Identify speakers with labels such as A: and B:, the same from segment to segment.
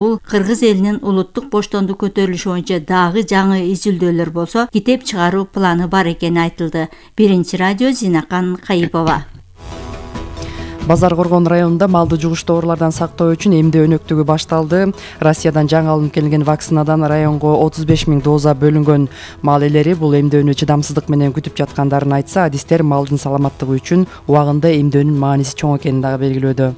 A: Бул Кыргыз элинин улуттук боштондук көтөрүлүшү боюнча дагы жаңы изилдөөлөр болсо, китеп чыгаруу планы бар экени айтылды. Биринчи радио Зинакан Кайыпова.
B: Базар Коргон районунда малды жугуштуу оорулардан сактоо үчүн эмдөө өнөктүгү башталды. Россиядан жаңы алынып келген вакцинадан районго 35 000 доза бөлүнгөн. Мал ээлери бул эмдөөнү чыдамсыздык менен күтүп жаткандарын айтса, адистер малдын саламаттыгы үчүн убагында эмдөөнүн мааниси чоң экенин дагы белгилөөдө.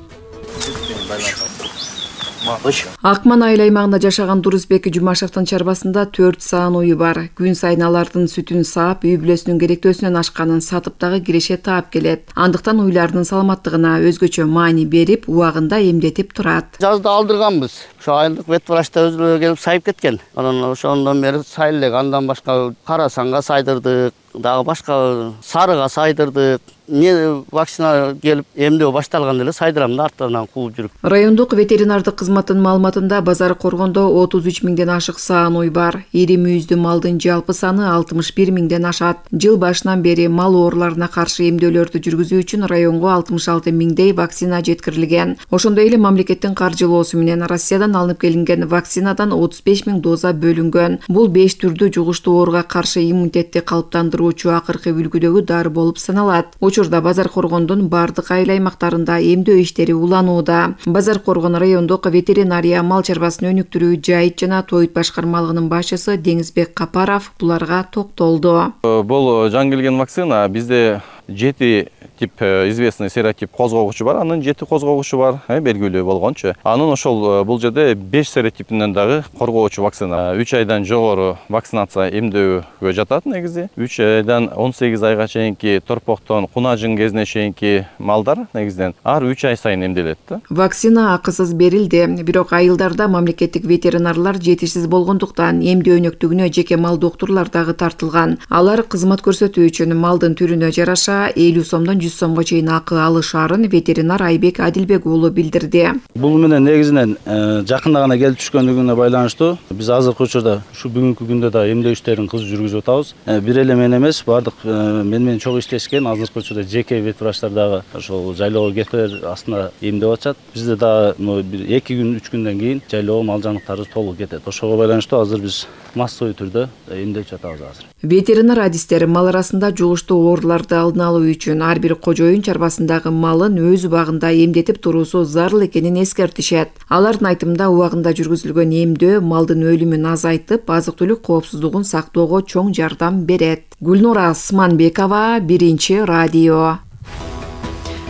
C: Акман айыл аймагында жашаган Дурусбек Жумашевдин чарбасында 4 саан уyu бар. Күн сайын алардын сүтүн саап, үй бүлөсүнүн керектөөсүнөн ашканын сатып дагы киреше таап келет. Андыктан уйлардын саламаттыгына өзгөчө маани берип, убагында эмдетип турат.
D: Жазда алдырганбыз. Ошо айылдык вет врачта өзүлөрү келип сайып кеткен. Анан ошондон бери сайлек, андан башка Карасанга сайдырдык, дагы башка Сарыга сайдырдык. Вакцина келип эмдөө башталганда эле сайдырам да арттарынан кууп жүрүп.
C: Райондук ветеринардык кызматтын маалыматында Базар Коргондо 33 000ден ашык саан уй бар. Ири мүйүздүү малдын жалпы саны 61 000ден ашат. Жыл башынан бери мал ооруларына каршы эмдөөлөрдү жүргүзүү үчүн районго 66 000дей вакцина жеткирилген. Ошондой эле мамлекеттин каржылоосу менен Россиядан алынып келинген вакцинадан 35 000 доза бөлүнгөн. Бул 5 түрдүү жугуштуу ооруга каршы иммунитетти калыптандыруучу акыркы үлгүдөгү дары болуп саналат. Учурда Базар Коргондун бардык айыл аймактарында эмдөө иштери уланууда. Базар Коргон райондук ветеринария мал чарбасын өнүктүрүү жайыт жана тоют башкармалыгынын башчысы Деңизбек Капаров буларга токтолду.
E: Бул жаңы келген вакцина бизде 7 тип известный серотип козгогучу бар, анын 7 козгогучу бар, белгилүү болгончу. Анын ошол бул жерде 5 серотипинен дагы коргоочу вакцина. 3 айдан жогору вакцинация эмдөөгө жатат негизи. 3 айдан 18 айга чейинки торпоктон кунажың кезине чейинки малдар негизден ар 3 ай сайын эмделет да.
C: Вакцина акысыз берилди, бирок айылдарда мамлекеттик ветеринарлар жетишсиз болгондуктан эмдөө өнөктүгүнө жеке мал доктурлар дагы тартылган. Алар кызмат көрсөтүү үчүн малдын түрүнө жараша 50 сомдон 100 сомго чейин акы алышаарын ветеринар Айбек Адилбек уулу билдирди.
F: Бул менен негизинен жакында гана келип түшкөндүгүнө байланыштуу биз азыркы учурда ушу бүгүнкү күндө да эмдөө иштерин кыз жүргүзүп атабыз. Бир эле мен эмес, бардык менен чогуу иштешкен азыркы учурда жеке вет врачтар дагы ошол жайлоого кетер астында эмдеп атышат. Бизде дагы 2 күн 3 күндөн кийин жайлоого мал жаныктары толук кетет. Ошого байланыштуу азыр биз массовый түрдө эмдеп жатабыз азыр.
C: Ветеринар адистер мал арасында жугуштуу ооруларды алдын алуу үчүн ар бир кожоюн чарбасындагы малын өз убагында эмдетип туруусу зарыл экенин эскертишет. Алардын айтымында убагында жүргүзүлгөн эмдөө малдын өлүмүн азайтып, азык-түлүк коопсуздугун сактоого чоң жардам берет. Гүлнура Асманбекова, Биринчи радио.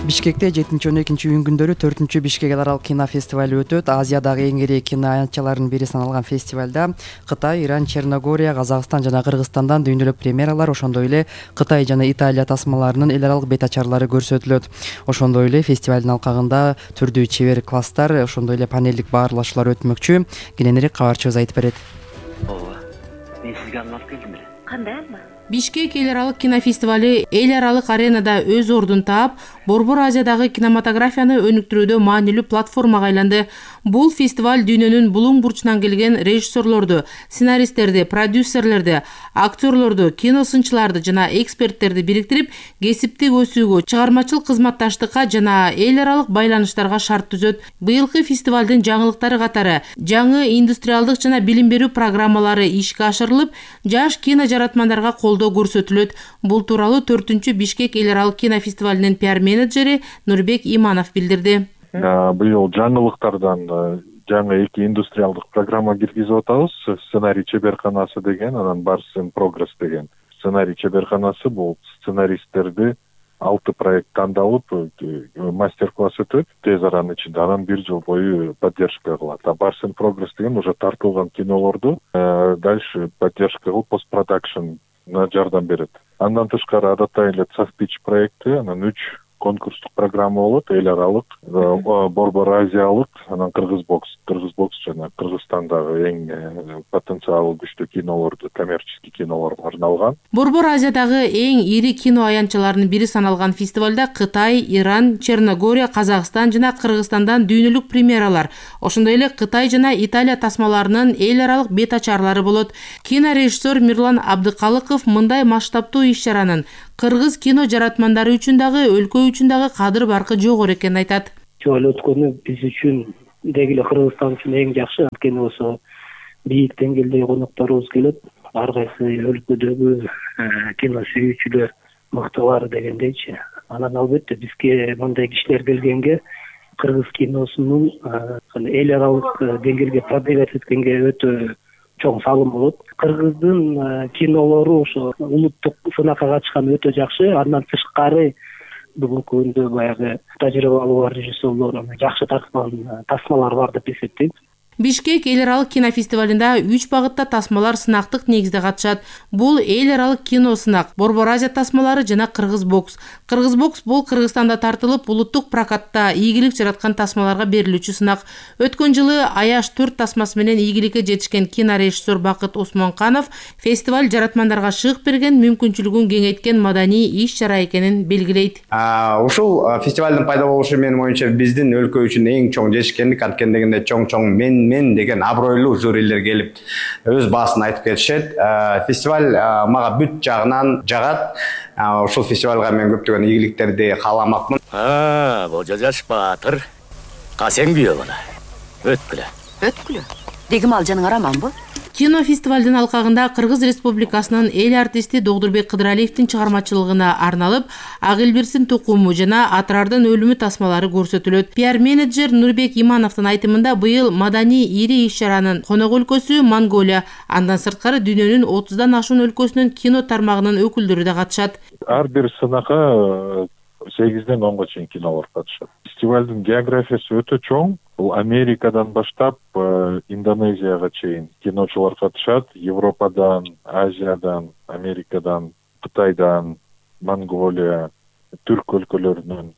B: Бишкекте 7-12 июнь күндөрү 4-чү Бишкек эл аралык кинофестивали өтөт. Азиядагы эң ири кино аянтчаларынын бири саналган фестивалда Кытай, Иран, Черногория, Казакстан жана Кыргызстандан дүйнөлүк премьералар, ошондой эле Кытай жана Италия тасмаларынын эл аралык бет ачарлары көрсөтүлөт. Ошондой эле фестивалдын алкагында түрдүү чебер класстар, ошондой эле панелдик баарлашуулар өтмөкчү. Кененирээк кабарчыбыз айтып берет.
G: Мен сизге алып келдим эле.
H: Кандай алма?
I: Бишкек эл аралык кинофестивали эл аралык аренада өз ордун таап, Борбор Азиядагы кинематографияны өнүктүрүүдө маанилүү платформага айланды. Бул фестиваль дүйнөнүн булуң бурчунан келген режиссерлорду, сценаристтерди, продюсерлерди, актерлорду, кино сынчыларды жана эксперттерди бириктирип, кесиптик өсүүгө, чыгармачылык кызматташтыкка жана эл аралык байланыштарга шарт түзөт. Быйылкы фестивалдын жаңылыктары катары жаңы индустриалдык жана билим берүү программалары ишке ашырылып, жаш кино жаратмандарга колдоо көрсөтүлөт. Бул тууралуу 4-чү Бишкек эл аралык кинофестивалынын пиар менеджери Нурбек Иманов билдирди.
J: Быйыл жаңылыктардан жаңы 2 индустриалдык программа киргизип атабыз. Сценарий чеберканасы деген, анан Bars in Progress деген. Сценарий чеберканасы бул сценаристтерди 6 проект тандалып, мастер-класс өтөт тез аранын ичинде, анан 1 жыл бою поддержка кылат. Bars in Progress деген уже тартылган кинолорду дальше поддержка кылып постпродакшн жардам берет. Андан тышкары адаттай эле Цахпич проекти, анан 3 конкурстук программа болот, эл аралык, Борбор Азиялык, анан Кыргызбокс жана Кыргызстандагы эң потенциалы күчтүү кинолорду, коммерческий кинолорго арналган.
I: Борбор Азиядагы эң ири кино аянтчаларынын бири саналган фестивалда Кытай, Иран, Черногория, Казакстан жана Кыргызстандан дүйнөлүк премьералар, ошондой эле Кытай жана Италия тасмаларынын эл аралык бет ачарлары болот. Кинорежиссер Мирлан Абдыкалыков мындай масштабтуу иш-чаранын кыргыз кино жаратмандары үчүн дагы, өлкө үчүн дагы кадыр баркы жогору экенин айтат.
G: Жол өткөнү биз үчүн
H: деги эле Кыргызстан үчүн эң жакшы, анткени ошо бийик деңгээлдеги конокторубуз келет. Ар кайсы өлкөдөгү кино сүйүүчүлөр мыктылар дегендейчи. Анан албетте бизге мындай кишилер келгенге кыргыз киносунун эл аралык деңгээлге продвигать эткенге өтө чоң салым болот. Кыргыздын кинолору ошо улуттук сынакка катышкан өтө жакшы. Андан тышкары бүгүнкү күндө баягы тажрыйбалуу бар режиссерлор жакшы тарткан тасмалар бар деп эсептейм.
I: Бишкек эл аралык кинофестивалында 3 багытта тасмалар сынактык негизде катышат. Бул эл аралык кино сынак, Борбор Азия тасмалары жана Кыргыз бокс. Кыргыз бокс бул Кыргызстанда тартылып, улуттук прокатта ийгилик жараткан тасмаларга берилүүчү сынак. Өткөн жылы Аяш 4 тасмасы менен ийгиликке жетишкен кинорежиссер Бакыт Осмонканов фестиваль жаратмандарга шык берген, мүмкүнчүлүгүн кеңейткен маданий иш-чара экенин белгилейт.
K: Ушул фестивалдын пайда болушу менин оюмча биздин өлкө үчүн эң чоң жетишкендик, анткени дегенде чоң мен деген абройлуу жюрилер келип өз баасын айтып кетишет. Фестиваль мага бүт жагынан жагат. Ушул фестивалга мен көптөгөн ийгиликтерди кааламакмын.
G: Божо жаш баатыр. Касең бүйө бала. Өткүлө.
L: Дегим ал жаның араманбы?
I: Кино фестивалдын алкагында Кыргыз Республикасынын эл артисти Догдурбек Кыдыралиевдин чыгармачылыгына арналып Агылберсин тукуму жана Атрардын өлүмү тасмалары көрсөтүлөт. Пиар-менеджер Нурбек Имановдун айтымында быйыл маданий ири иш-чаранын конок өлкөсү Монголия, андан сырткары дүйнөнүн 30дан ашуун өлкөсүнүн кино тармагынын өкүлдөрү да катышат.
J: Ар бир сынакка 8ден 10га чейин кинолор катышат. Фестивалдын географиясы өтө чоң. Бул Америкадан баштап Индонезияга чейин киночулар катышат. Европадан, Азиядан, Америкадан, Кытайдан, Монголия, түрк өлкөлөрүнөн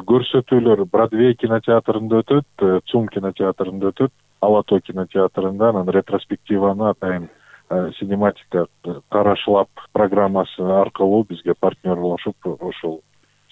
J: көрсөтүүлөр Бродвей кинотеатрында өтөт, ЦУМ кинотеатрында өтөт, Алато кинотеатрында, анан ретроспективаны атайын синематика карашлап программасы аркылуу бизге партнерлошуп ошол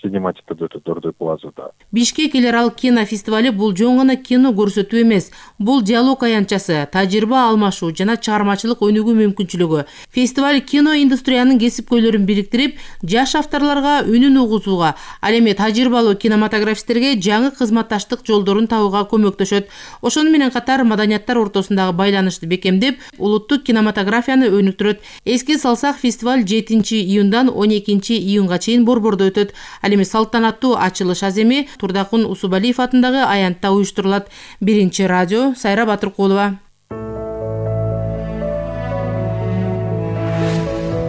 J: синематикада өтөт Дордой плазада.
I: Бишкек эл аралык кино фестивали бул жөн гана кино көрсөтүү эмес, бул диалог аянтчасы, тажрыйба алмашуу жана чыгармачылык өнүгүү мүмкүнчүлүгү. Фестиваль кино индустриянын кесипкөйлөрүн бириктирип, жаш авторлорго үнүн угузууга, ал эми тажрыйбалуу кинематографисттерге жаңы кызматташтык жолдорун табууга көмөктөшөт. Ошону менен катар маданияттар ортосундагы байланышты бекемдеп, улуттук кинематографияны өнүктүрөт. Эске салсак, фестиваль 7-июндан 12-июнга чейин Борбордо өтөт. Эми салтанаттуу ачылыш аземи Турдакун Усубалиев атындагы аянтта уюштурулат. Биринчи радио, Сайра Батыркулова.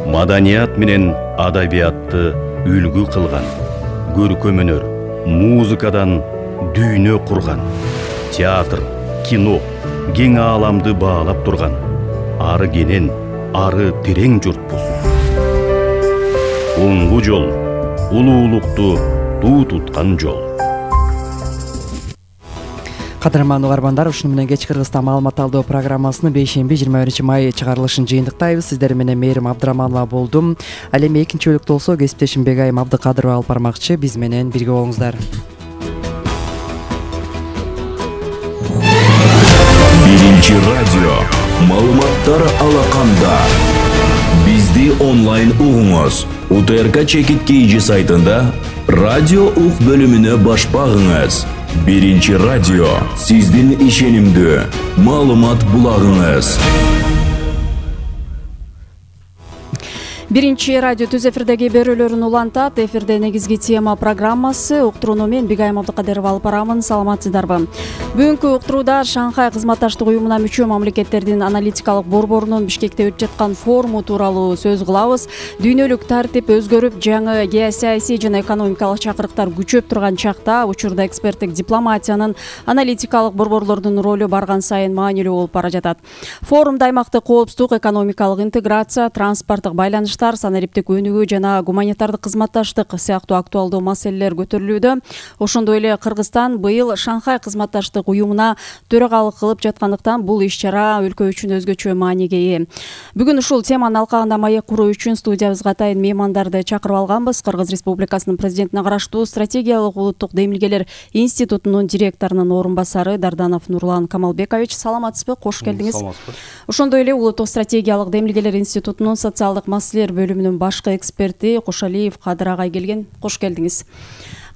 M: Маданият менен адабиятты үлгү кылган, көркөм өнөр, музыкадан дүйнө курган, театр, кино, кең ааламды баалап турган, ары кенен, ары терең журтпуз. Оңгу жол, улуулукту туу туткан жол.
B: Кадырман угармандар, ушуну менен кеч Кыргызстан маалымат алуу программасынын 5-21 май чыгарылышын жыйынтыктайбыз. Сиздер менен Мээрим болдум. Ал эми экинчи бөлүктө болсо кесиптешим Бегайым Абдыкадырова алып бармакчы. Биз менен бирге болуңуздар.
N: Биринчи радио маалыматтар алаканда. Бизди онлайн угуңуз. УТРК Чекит KG сайтында радио ук бөлүмүнө баш багыңыз. Биринчи радио сиздин ишенимдүү маалымат булагыңыз.
O: Биринчи радио түз эфирдеги берүүлөрүн улантат. Эфирде негизги тема программасы. Уктурууну мен Бегайым Абдыкадырова алып барамын. Саламатсыздарбы? Бүгүнкү уктурууда Шанхай кызматташтык уюмуна мүчө мамлекеттердин аналитикалык борборунун Бишкекте өтүп жаткан форуму тууралуу сөз кылабыз. Дүйнөлүк тартип өзгөрүп, жаңы геосаясий жана экономикалык чакырыктар күчөп турган чакта учурда эксперттик дипломатиянын аналитикалык борборлордун ролу барган сайын маанилүү болуп бара жатат. Форумда аймактык коопсуздук, экономикалык интеграция, транспорттук байланыштар, санариптик өнүгүү жана гуманитардык кызматташтык сыяктуу актуалдуу маселелер көтөрүлүүдө. Ошондой эле Кыргызстан быйыл Шанхай кызматташтык уюмуна төрагалык кылып жаткандыктан бул иш-чара өлкө үчүн өзгөчө мааниге ээ. Бүгүн ушул теманын алкагында маек куруу үчүн студиябызга атайын меймандарды чакырып алганбыз. Кыргыз Республикасынын президентине караштуу стратегиялык улуттук демилгелер институтунун директорунун орун басары Дарданов Нурлан Камалбекович. Саламатсызбы? Кош келдиңиз. Ошондой эле улуттук стратегиялык демилгелер институтунун социалдык маселелер бөлүмүнүн башкы эксперти Кошалиев Кадыр агай келген. Кош келдиңиз.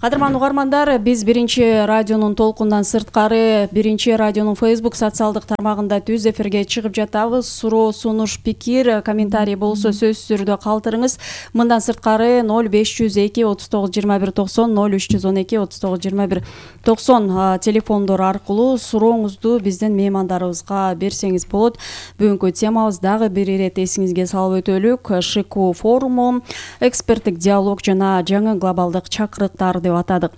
O: Кадырман угармандар, биз Биринчи радионун толкундан сырткары Биринчи радионун Facebook социалдык тармагында түз эфирге чыгып жатабыз. Суроо, сунуш, пикир, комментарий болсо сөзсүз түрдө калтырыңыз. Мындан сырткары 0502 39 21 90 0312 39 21 90 телефондор аркылуу сурооңузду биздин меймандарыбызга берсеңиз болот. Бүгүнкү темабыз дагы бир ирет эсиңизге салып өтөлүк. ШИКУ форуму, эксперттик диалог жана жаңы глобалдык чакырыктар деп атадык.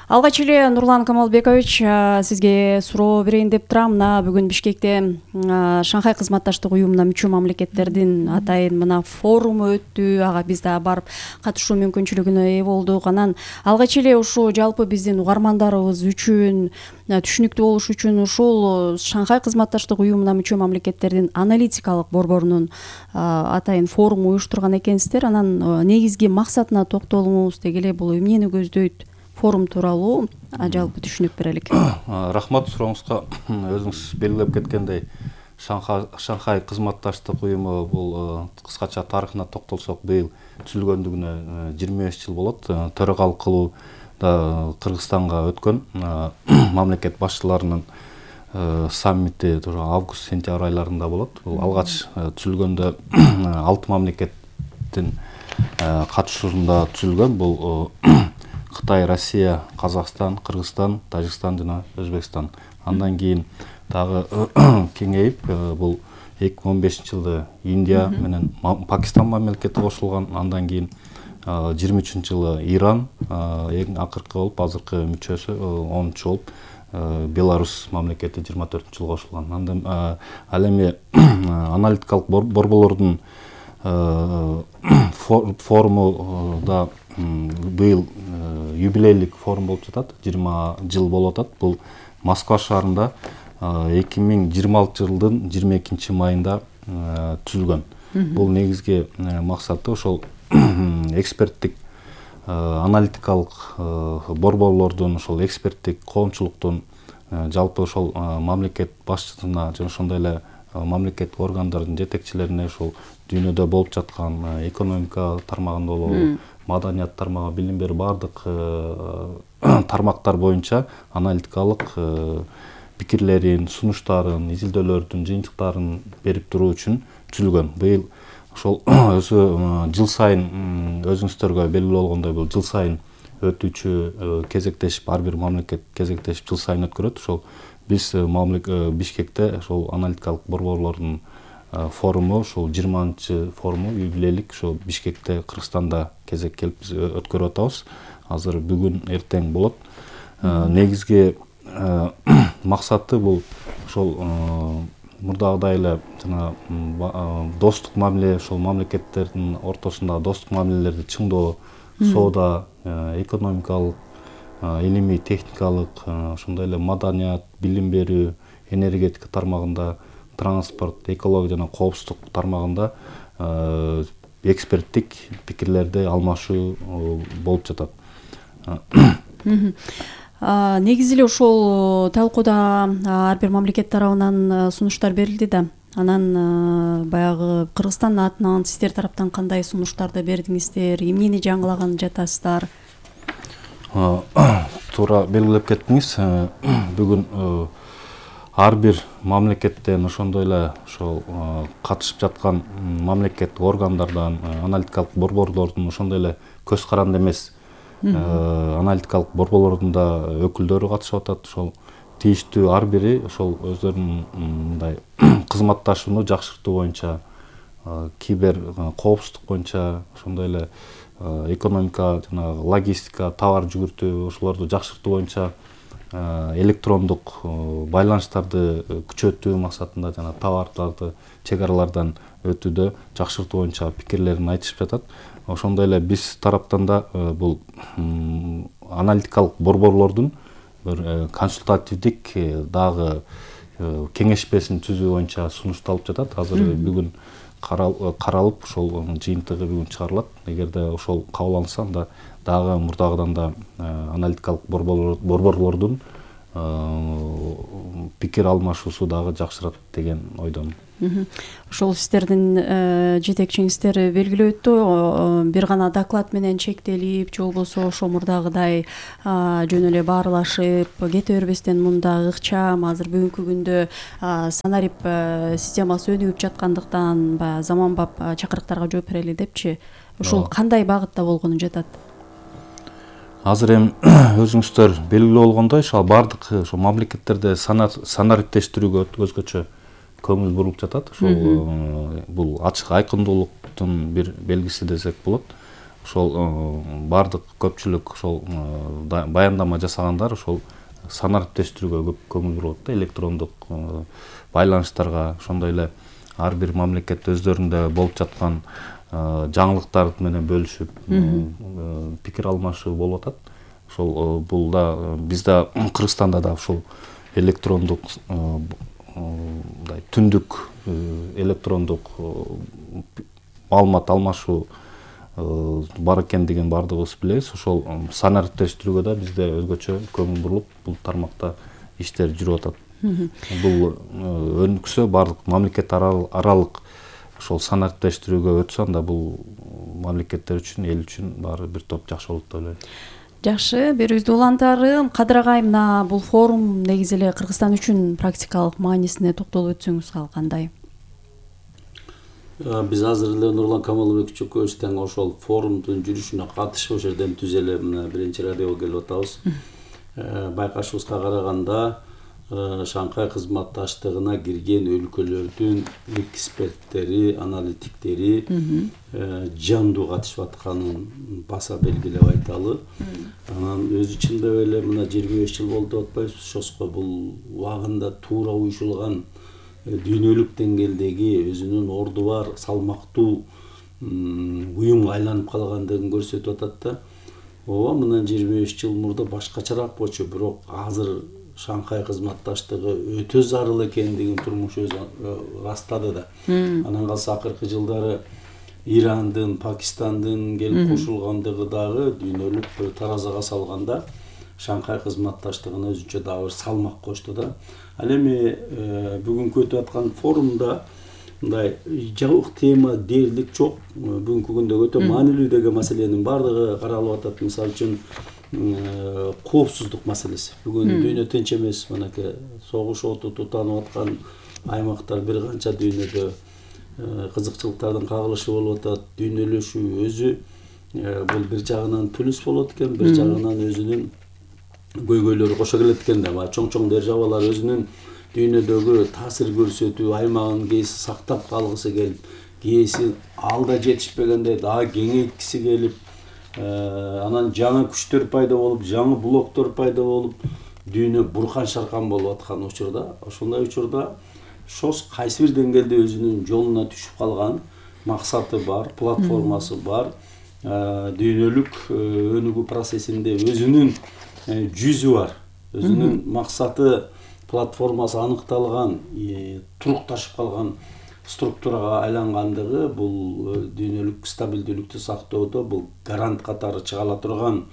O: Алгач эле Нурлан Камалбекович, сизге суроо берейин деп турам. Мына бүгүн Бишкекте Шанхай кызматташтык уюмуна мүчө мамлекеттердин атайын мына форуму өттү. Ага биз да барып катышуу мүмкүнчүлүгүнө ээ болдук. Анан алгач эле ушу жалпы биздин угармандарыбыз үчүн түшүнүктүү болуш үчүн ушул Шанхай кызматташтык уюмуна мүчө мамлекеттердин аналитикалык борборунун атайын форуму уюштурган экенсиздер. Анан негизги максатына токтолуңуз дегеле, бул эмнени көздөйт? Форум тууралуу жалпы түшүнүк берелик.
E: Рахмат сурооңузга. Өзүңүз белгилеп кеткендей, Шанхай кызматташтык уюму бул кыскача тарыхына токтолсок, быйыл түзүлгөндүгүнө 25 жыл болот. Төрагалык кылуу да Кыргызстанга өткөн мамлекет башчыларынын саммити август-сентябрь айларында болот. Бул алгач түзүлгөндө 6 мамлекеттин катышуусунда түзүлгөн. Бул Кытай, Россия, Казакстан, Кыргызстан, Тажикстан жана Өзбекстан. Андан кийин дагы кеңейип, бул 2015 жылы Индия менен Пакистан мамлекети кошулган. Андан кийин 23-жылы Иран, эң акыркы болуп, азыркы мүчөсү 10-чу болуп, Беларусь мамлекети 24-жылы кошулган. Андан ал эми аналитикалык борборлордун форуму да быйыл юбилейлик форум болуп жатат, 20 жыл болуп атат. Бул Москва шаарында 2026 жылдын 22 майында түзүлгөн. Бул негизги максаты ошол эксперттик аналитикалык борборлордун, ошол эксперттик коомчулуктун жалпы ошол мамлекет башчысына жана ошондой эле мамлекеттик органдардын жетекчилерине ошол дүйнөдө болуп жаткан экономика тармагында болобу, маданият тармагы, билим берүү бардык тармактар боюнча аналитикалык пикирлерин, сунуштарын, изилдөөлөрдүн жыйынтыктарын берип туруу үчүн түзүлгөн. Быйыл ошол өзү жыл сайын өзүңүздөргө белгилүү болгондой бул жыл сайын өтүүчү кезектешип, ар бир мамлекет кезектешип жыл сайын өткөрөт. Ошол биз Бишкекте ошол аналитикалык борборлордун форуму, ошол 20-чы форуму юбилейлик ошол Бишкекте, Кыргызстанда кезек келип биз өткөрүп атабыз. Азыр бүгүн эртең болот. Негизги максаты бул ошол мурдагыдай эле жана достук мамиле, ошол мамлекеттердин ортосунда достук мамилелерди чыңдоо, соода, экономикалык, илимий, техникалык, ошондой эле маданият, билим берүү, энергетика тармагында, транспорт, экология жана коопсуздук тармагында эксперттик пикирлерди алмашуу болуп жатат.
O: Негизи эле ошол талкууда ар бир мамлекет тарабынан сунуштар берилди да. Анан баягы Кыргызстан атынан сиздер тараптан кандай сунуштарды бердиңиздер, эмнени жаңылаган жатасыздар?
E: Туура белгилеп кеттиңиз. Бүгүн ар бир мамлекеттен, ошондой эле ошол катышып жаткан мамлекеттик органдардан, аналитикалык борборлордун, ошондой эле көз каранды эмес аналитикалык борборлордун да өкүлдөрү катышып атат. Ошол тийиштүү ар бири ошол өздөрүнүн мындай кызматташууну жакшыртуу боюнча, кибер коопсуздук боюнча, ошондой эле экономика жана логистика, товар жүгүртүү ошолорду жакшыртуу боюнча, электрондук байланыштарды күчөтүү максатында жана товарларды чек аралардан өтүүдө жакшыртуу боюнча пикирлерин айтышып жатат. Ошондой эле биз тараптан да бул аналитикалык борборлордун бир консультативдик дагы кеңешпесин түзүү боюнча сунушталып жатат. Азыр бүгүн каралып, ошол жыйынтыгы бүгүн чыгарылат. Эгерде ошол кабыл алынса, анда дагы мурдагыдан да аналитикалык борборлордун
F: пикир алмашуусу дагы жакшырат деген ойдомун.
O: Ошол сиздердин жетекчиңиздер белгилеп өттү, бир гана доклад менен чектелип, же болбосо ошо мурдагыдай жөн эле баарлашып кете бербестен мында ыкчам азыр бүгүнкү күндө санарип системасы өнүгүп жаткандыктан баягы заманбап чакырыктарга жооп берели депчи, ошол кандай багытта болгону жатат?
F: Азыр эми өзүңүздөр белгилүү болгондой, ошо бардык ошо мамлекеттерде санариптештирүүгө өзгөчө көңүл бурулуп жатат. Ошол бул ачык айкындуулуктун бир белгиси десек болот. Ошол бардык көпчүлүк ошол баяндама жасагандар ошол санариптештирүүгө көп көңүл бурулат да, электрондук байланыштарга, ошондой эле ар бир мамлекет өздөрүндө болуп жаткан жаңылыктар менен бөлүшүп пикир алмашуу болуп атат. Ошол бул да бизде Кыргызстанда да ушул электрондук түндүк электрондук маалымат алмашуу бар экендигин баардыгыбыз билебиз. Ошол санариптештирүүгө да бизде өзгөчө көңүл бурулуп, бул тармакта иштер жүрүп атат. Бул өнүксө, баардык мамлекет аралык ошол санариптештирүүгө өтсө, анда бул мамлекеттер үчүн, эл үчүн баары бир топ жакшы болот деп ойлойм.
O: Жакшы, берүүбүздү улантары. Кадыр агай, мына бул форум негизи эле Кыргызстан үчүн практикалык маанисине токтолуп өтсөңүз кандай?
L: Биз азыр эле Нурлан Камалбек Чөкөбүз тең ошол форумдун жүрүшүнө катышып, ошол жерден түз эле мына биринчи радиого келип атабыз. Байкашыбызга караганда Шанхай кызматташтыгына кирген өлкөлөрдүн эксперттери, аналитиктери жандуу катышып атканын баса белгилеп айталы. Анан өз ичинде эле мына 25 жыл болду деп атпайбыз, ошоско бул убагында туура уюшулган дүйнөлүк деңгээлдеги өзүнүн орду бар, салмактуу уюмга айланып калгандыгын көрсөтүп атат да. Ооба, мындан 25 жыл мурда башкачараак болчу, бирок азыр Шанхай кызматташтыгы өтө зарыл экендигин турмуш өзү растады да. Анан калса акыркы жылдары Ирандын, Пакистандын келип кошулгандыгы дагы дүйнөлүк бир таразага салганда Шанхай кызматташтыгына өзүнчө дагы бир салмак кошту да. Ал эми бүгүнкү өтүп аткан форумда мындай жабык тема дээрлик жок. Бүгүнкү күндө өтө маанилүү деген маселенин баардыгы каралып атат. Мисалы үчүн коопсуздук маселеси. Бүгүн дүйнө тынч эмес, мынакей согуш оту тутанып аткан аймактар бир канча дүйнөдө кызыкчылыктардын кагылышы болуп атат. Дүйнөлөшүү өзү бул бир жагынан плюс болот экен, бир жагынан өзүнүн көйгөйлөрү кошо келет экен да. Чоң-чоң державалар өзүнүн дүйнөдөгү таасир көрсөтүү аймагын кээси сактап калгысы келип, кээси алда жетишпегенде дагы кеңейткиси келип, анан жаңы күчтөр пайда болуп, жаңы блоктор пайда болуп, дүйнө буркан-шаркан болуп аткан учурда, ошондой учурда ШОС кайсы бир деңгээлде өзүнүн жолуна түшүп калган максаты бар, платформасы бар, дүйнөлүк өнүгүү процессинде өзүнүн жүзү бар, өзүнүн максаты, платформасы аныкталган, турукташып калган структурага айлангандыгы бул дүйнөлүк стабилдүүлүктү сактоодо бул гарант катары чыга ала турган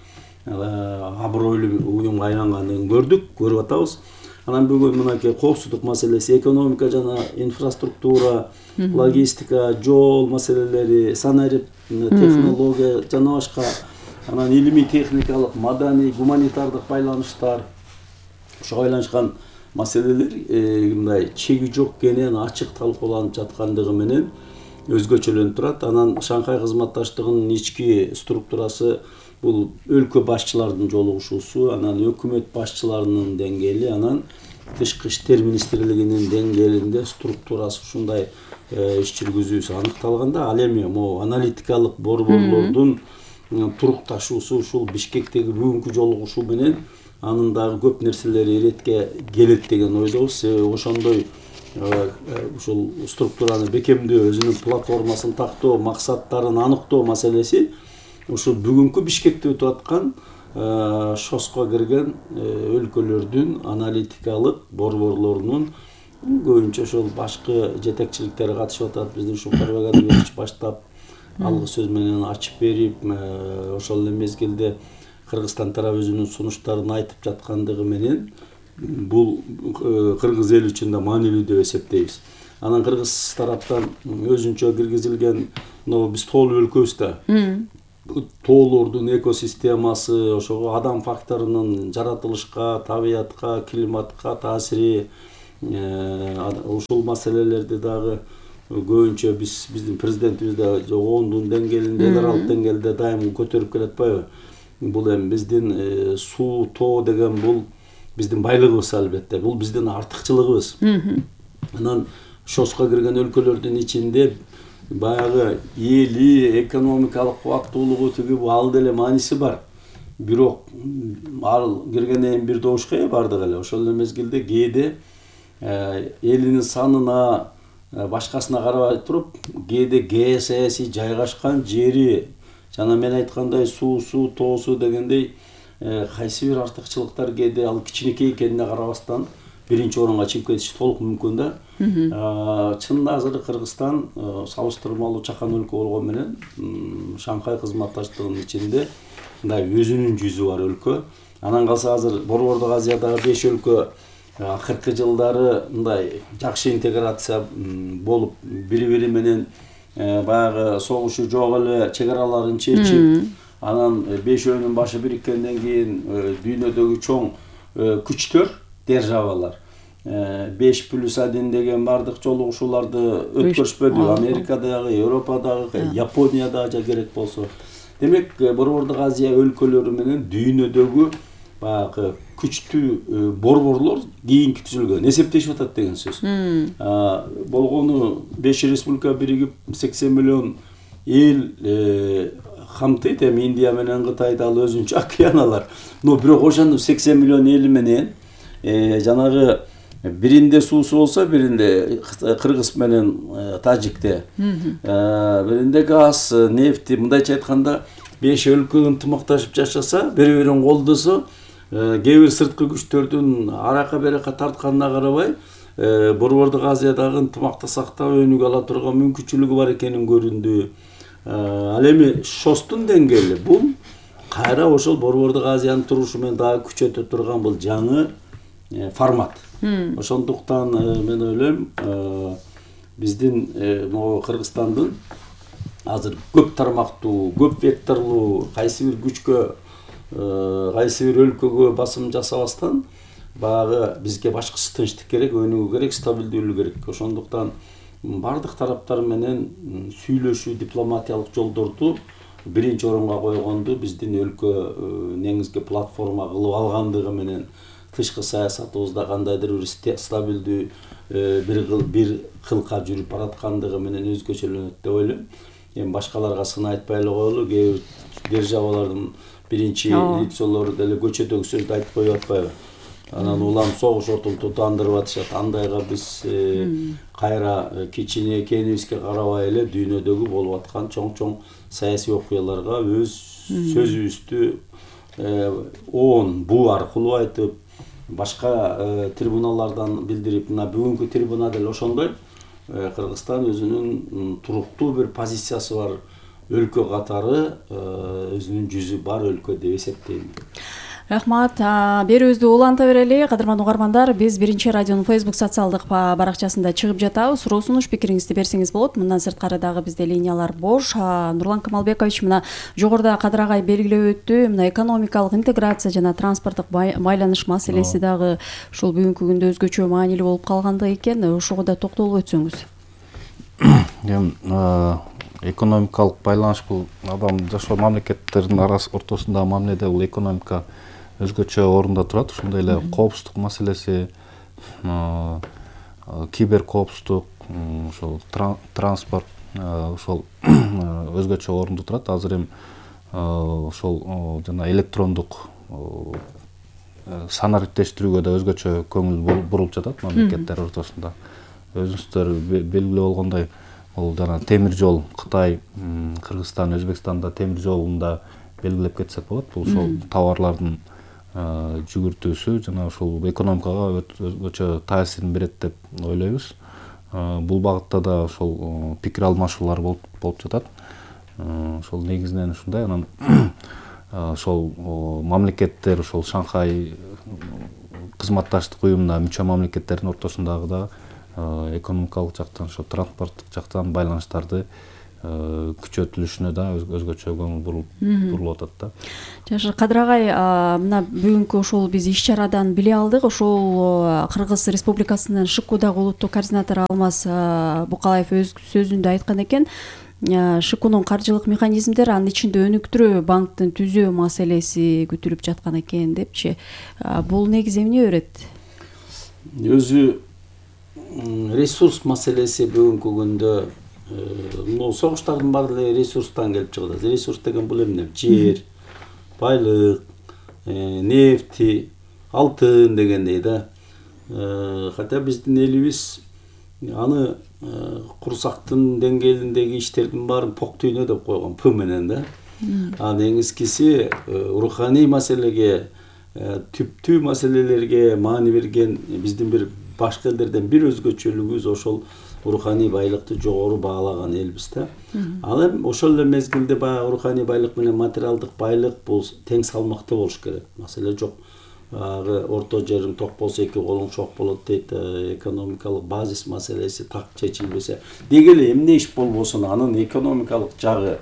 L: абройлуу уюмга айлангандыгын көрүп атабыз. Анан бүгүн мынакей коопсуздук маселеси, экономика жана инфраструктура, логистика, жол маселелери, санарип, технология жана башка, анан илимий техникалык, маданий, гуманитардык байланыштар, ошого байланышкан маселелер мындай чеги жок кенен ачык талкууланып жаткандыгы менен өзгөчөлөнүп турат. Анан Шанхай кызматташтыгынын ички структурасы бул өлкө башчылардын жолугушуусу, анан өкмөт башчыларынын деңгээли, анан тышкы иштер министрлигинин деңгээлинде структурасы ушундай иш жүргүзүүсү аныкталганда, ал эми могу аналитикалык борборлордун турукташуусу ушул Бишкектеги бүгүнкү жолугушуу менен анын дагы көп нерселери иретке келет деген ойдобуз. Ошондой ушул структураны бекемдөө, өзүнүн платформасын тактоо, максаттарын аныктоо маселеси ушул бүгүнкү Бишкекте өтүп аткан ШОСко кирген өлкөлөрдүн аналитикалык борборлорунун көбүнчө ошол башкы жетекчиликтери катышып атат. Биздин Шукарбек Адилбекович баштап алгы сөз менен ачып берип, ошол эле мезгилде Кыргызстан тарабы өзүнүн сунуштарын айтып жаткандыгы менен бул кыргыз эли үчүн да маанилүү деп эсептейбиз. Анан кыргыз тараптан өзүнчө киргизилген биз тоолуу өлкөбүз да. Тоолордун экосистемасы, ошого адам факторунун жаратылышка, табиятка, климатка таасири, ушул маселелерди дагы көбүнчө биздин президентибиз да ООНдун деңгээлинде, эл аралык деңгээлде дайым көтөрүп келатпайбы? Бул эми биздин суу, тоо деген бул биздин байлыгыбыз албетте. Бул биздин артыкчылыгыбыз. Анан ШОСко кирген өлкөлөрдүн ичинде баягы эли, экономикалык кубаттуулугу тиги ал деле мааниси бар. Бирок ал киргенден кийин бир добушка ээ бардык эле. Ошол эле мезгилде кээде элинин санына, башкасына карабай туруп, кээде геосаясий жайгашкан жери, жана мен айткандай суусу, тоосу дегендей кайсы бир артыкчылыктар кээде ал кичинекей экенине карабастан биринчи орунга чыгып кетиши толук мүмкүн да. Чынында азыр Кыргызстан салыштырмалуу чакан өлкө болгону менен Шанхай кызматташтыгынын ичинде мындай өзүнүн жүзү бар өлкө. Анан калса азыр Борбордук Азиядагы 5 өлкө акыркы жылдары мындай жакшы интеграция болуп, бири-бири менен баягы согушу жок эле чек-араларын чечип, анан 5өөнүн башы бириккенден кийин дүйнөдөгү чоң күчтөр, державалар 5+1 деген бардык жолугушууларды өткөрүшпөдү. Америкадагы, Европадагы, Япониядагы керек болсо. Демек, Борбордук Азия өлкөлөрү менен дүйнөдөгү баягы күчтүү борборлор кийинки түзүлгөн, эсептешип атат деген сөз. Болгону 5 республика биригип 80 миллион эл камтыйт. Эми Индия менен Кытайда ал өзүнчө океаналар. Но бирок ошондо 80 миллион эли менен жанагы биринде суусу болсо, биринде Кыргыз менен Тажикте, биринде газ, нефти, мындайча айтканда 5 өлкө ынтымакташып жашаса, бири-бирин колдосо, кээ бир сырткы күчтөрдүн арака берака тартканына карабай, Борбордук Азиядагы ынтымакты сактап өнүгө ала турган мүмкүнчүлүгү бар экенин көрүндү. Ал эми ШОСтун деңгээли бул кайра ошол Борбордук Азиянын турушу менен дагы күчөтө турган бул жаңы формат. Ошондуктан мен ойлойм, биздин могу Кыргызстандын азыр көп тармактуу, көп векторлуу кайсы бир күчкө, кайсы бир өлкөгө басым жасабастан, баягы бизге башкысы тынчтык керек, өнүгүү керек, стабилдүүлүк керек. Ошондуктан бардык тараптар менен сүйлөшүү, дипломатиялык жолдорду биринчи орунга койгонду биздин өлкө негизги платформа кылып алгандыгы менен тышкы саясатыбызда кандайдыр бир стабилдүү бир кылка жүрүп бараткандыгы менен өзгөчөлөнөт деп ойлойм. Эми башкаларга сын айтпай эле коелу, кээ бир державалардын биринчи лицолору деле көчөдөгү сөздү айтып коюп атпайбы? Анан улам согуш отун тутандырып атышат. Андайга биз кайра кичине экенибизге карабай эле дүйнөдөгү болуп аткан чоң-чоң саясий окуяларга өз сөзүбүздү ООН бу аркылуу айтып, башка трибуналардан билдирип, мына бүгүнкү трибуна деле ошондой Кыргызстан өзүнүн туруктуу бир позициясы бар өлкө катары, өзүнүн жүзү бар өлкө деп эсептейм.
O: Рахмат. Берүүбүздү уланта берели. Кадырман угармандар, биз Биринчи радионун Facebook социалдык баракчасында чыгып жатабыз. Суроо сунуш пикириңизди берсеңиз болот. Мындан сырткары дагы бизде линиялар бош. Нурлан Камалбекович мына жогоруда Кадыр агай белгилеп өттү. Мына экономикалык интеграция жана транспорттук байланыш маселеси дагы ушул бүгүнкү күндө өзгөчө маанилүү болуп калгандыгы экен. Ошого да токтолуп өтсөңүз.
E: Экономикалык байланыш бул адам жашоо мамлекеттердин ортосундагы мамиледе бул экономика өзгөчө орунда турат. Ошондой эле коопсуздук маселеси, кибер коопсуздук, ошол транспорт ошол өзгөчө орунда турат. Азыр эми ошол жана электрондук санариптештирүүгө да өзгөчө көңүл бурулуп жатат мамлекеттер ортосунда. Өзүңүздөр белгилүү болгондой, ол жана темир жол, Кытай, Кыргызстан, Өзбекстанда темир жолунда белгилеп кетсек болот. Бул ошол товарлардын жүгүртүүсү жана ушул экономикага өтө таасирин берет деп ойлойбуз. Бул багытта да ошол пикир алмашуулар болуп жатат. Ошол негизинен ушундай. Анан
F: ошол мамлекеттер ошол Шанхай кызматташтык уюмуна мүчө мамлекеттердин ортосундагы да экономикалык жактан ошо транспорттук жактан байланыштарды күчөтүлүшүнө да өзгөчө көңүл бурулуп атат да.
O: Жакшы, Кадыр агай, мына бүгүнкү ошол биз иш чарадан биле алдык. Ошол Кыргыз Республикасынын ШКУдагы улуттук координатору Алмаз Букалаев өз сөзүндө айткан экен, ШКУнун каржылык механизмдери анын ичинде өнүктүрүү банктын түзөө маселеси көтөрүлүп жаткан экен депчи. Бул негизи эмне берет?
L: Өзү ресурс маселеси бүгүнкү күндө согуштардын баары эле ресурстан келип чыгат. Ресурс деген бул эмне? Жер, байлык, нефти, алтын дегендей да. Хотя биздин элибиз аны курсактын деңгээлиндеги иштердин баарын пок дүйнө деп койгон, П менен да. Негизгиси руханий маселеге, түптүү маселелерге маани берген биздин бир башка элдерден бир өзгөчөлүгүбүз ошол руханий байлыкты жогору баалаган элбиз да. Ал эми ошол эле мезгилде баягы руханий байлык менен материалдык байлык бул тең салмакта болуш керек. Маселе жок. Орто жериң ток болсо эки колуң чок болот дейт. Экономикалык базис маселеси так чечилбесе, деги эле эмне иш болбосун анын экономикалык жагы,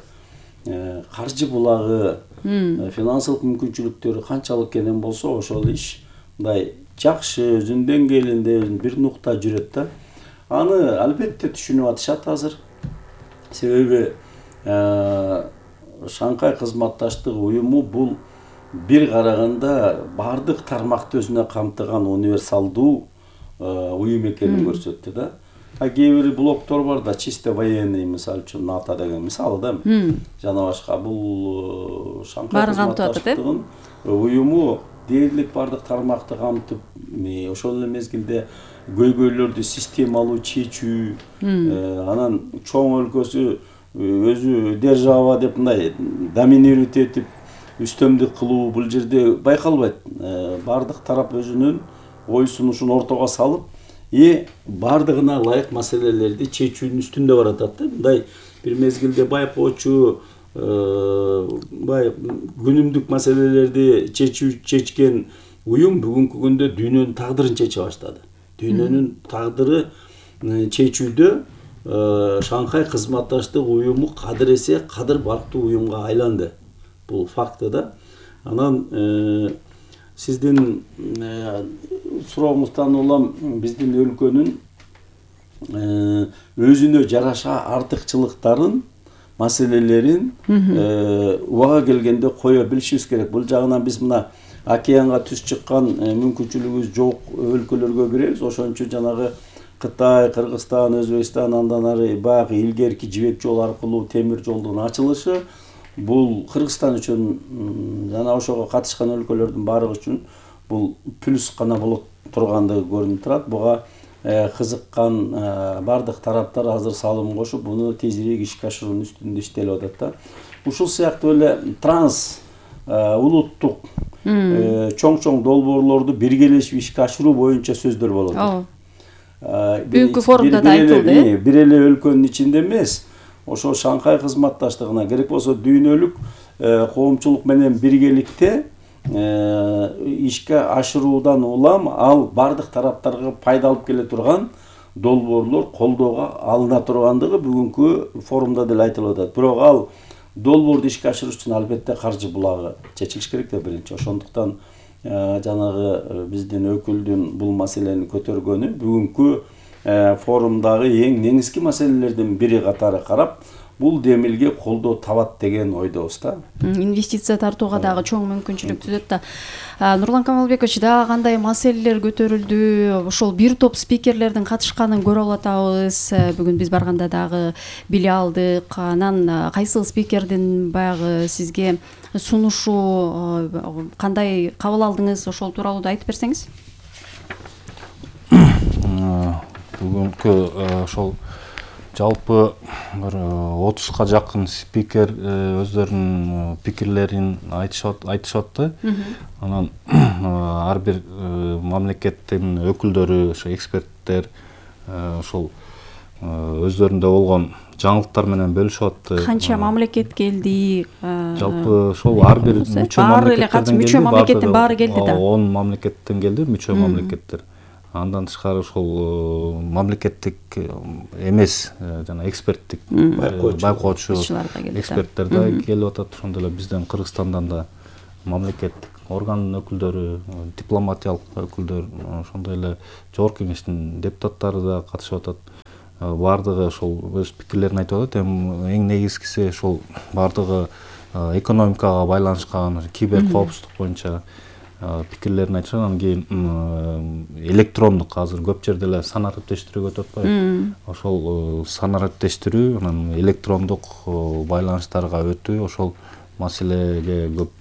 L: каржы булагы, финансылык мүмкүнчүлүктөрү канчалык экен болсо, ошол иш мындай жакшы өзүнүн деңгээлинде бир нукта жүрөт да. Аны албетте түшүнүп атышат азыр. Себеби Шанхай кызматташтык уюму бул бир караганда бардык тармакты өзүнө камтыган универсалдуу уюм экенин көрсөттү да. Кээ бир блоктор бар да, чисто военный, мисалы үчүн НАТО деген мисалы да. Жана башка бул Шанхай кызматташтыгынын уюму дээрлик бардык тармакты камтып, ошол эле мезгилде көйгөйлөрдү системалуу чечүү, анан чоң өлкөсү өзү держава деп мындай доминировать этип үстөмдүк кылуу бул жерде байкалбайт. Бардык тарап өзүнүн ой сунушун ортого салып, бардыгына ылайык маселелерди чечүүнүн үстүндө баратат да. Мындай бир мезгилде байкоочу, күнүмдүк маселелерди чечкен уюм бүгүнкү күндө дүйнөнүн тагдырын чече баштады. Дүйнөнүн тагдыры чечүүдө Шанхай кызматташтык уюму кадыр эсе кадыр бактуу уюмга айланды. Бул факты да. Анан сиздин сурооңуздан улам биздин өлкөнүн өзүнө жараша артыкчылыктарын, маселелерин убага келгенде кое билишибиз керек. Бул жагынан биз мына океанга түз чыккан мүмкүнчүлүгүбүз жок өлкөлөргө киребиз. Ошончо жанагы Кытай, Кыргызстан, Өзбекстан, андан ары баягы илгерки жибек жол аркылуу темир жолдун ачылышы бул Кыргызстан үчүн жана ошого катышкан өлкөлөрдүн баардыгы үчүн бул плюс гана болот тургандыгы көрүнүп турат. Буга кызыккан бардык тараптар азыр салым кошуп, буну тезирээк ишке ашыруунун үстүндө иштелип атат да. Ушул сыяктуу эле транс улуттук чоң долбоорлорду биргелешип ишке ашыруу боюнча сөздөр болот.
O: Бүгүнкү форумда да айтылды.
L: Бир эле өлкөнүн ичинде эмес, ошо Шанхай кызматташтыгына керек болсо дүйнөлүк коомчулук менен биргеликте ишке ашыруудан улам ал бардык тараптарга пайда алып келе турган долбоорлор колдоого алына тургандыгы бүгүнкү форумда деле айтылып атат. Бирок ал долбоорду ишке ашыруу үчүн албетте каржы булагы чечилиш керек да биринчи. Ошондуктан жанагы биздин өкүлдүн бул маселени көтөргөнү бүгүнкү форумдагы эң негизги маселелердин бири катары карап, бул демилге колдоо табат деген ойдобуз да.
O: Инвестиция тартууга дагы чоң мүмкүнчүлүк түзөт да. Нурлан Камалбекович, дагы кандай маселелер көтөрүлдү? Ошол бир топ спикерлердин катышканын көрө алатабыз. Бүгүн биз барганда дагы биле алдык. Анан кайсыл спикердин баягы сизге сунушу кандай кабыл алдыңыз? Ошол тууралуу да айтып берсеңиз.
F: Бүгүнкү ошол жалпы бир 30га жакын спикер өздөрүнүн пикирлерин айтышатты. Анан ар бир мамлекеттин өкүлдөрү, ошо эксперттер ошол өздөрүндө болгон жаңылыктар менен бөлүшүп атты.
O: Канча мамлекет келди?
F: Жалпы ошол ар бир мүчө мамлекеттин
O: баары келди да.
F: 10 мамлекеттен келди, мүчө мамлекеттер. Андан тышкары ошол мамлекеттик эмес жана эксперттик байкоочу эксперттер да келип атат. Ошондой эле бизден Кыргызстандан да мамлекеттик органдын өкүлдөрү, дипломатиялык өкүлдөр, ошондой эле жогорку кеңештин депутаттары да катышып атат. Бардыгы ошол өз пикирлерин айтып атат. Эң негизгиси ошол бардыгы экономикага байланышкан, кибер коопсуздук боюнча пикирлерин айтышат. Анан кийин электрондук азыр көп жерде эле сан ариптештирүүгө өтүп атпайбы? Ошол сан ариптештирүү, анан электрондук байланыштарга өтүү, ошол маселеге көп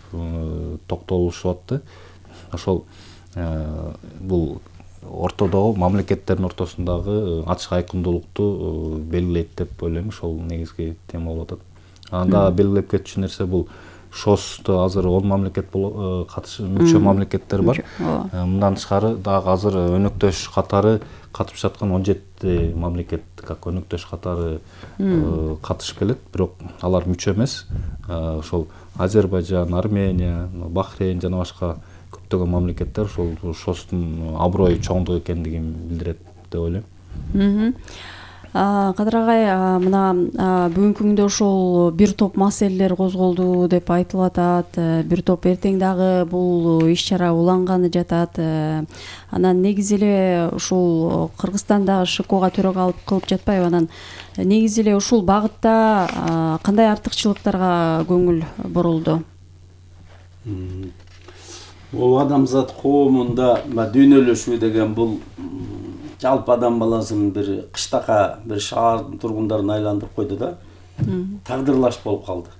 F: токтолушуп атты. Ошол бул ортодогу мамлекеттердин ортосундагы ачык айкындуулукту белгилейт деп ойлойм. Ошол негизги тема болуп атат. Анда белгилеп кетчү нерсе бул ШОСто азыр 10 мамлекет мүчө мамлекеттер бар. Мындан тышкары дагы азыр өнөктөш катары катышып жаткан 17 мамлекет как өнөктөш катары катышып келет, бирок алар мүчө эмес. Ошол Азербайжан, Армения, Бахрейн жана башка көптөгөн мамлекеттер ошол ШОСтун аброй чоңдугу экендигин билдирет деп ойлойм.
O: Кадыр агай, мына бүгүнкү күндө ошол бир топ маселелер козголду деп айтылып атат. Бир топ эртең дагы бул иш-чара уланганы жатат. Анан негизи эле ушул Кыргызстанда ШКОга төрагалык кылып жатпайбы? Анан негизи эле ушул багытта кандай артыкчылыктарга көңүл бурулду?
L: Бул адамзат коомунда дүйнөлөшүү деген бул жалпы адам баласынын бир кыштака бир шаардын тургундарын айландырып койду да. Тагдырлаш болуп калды.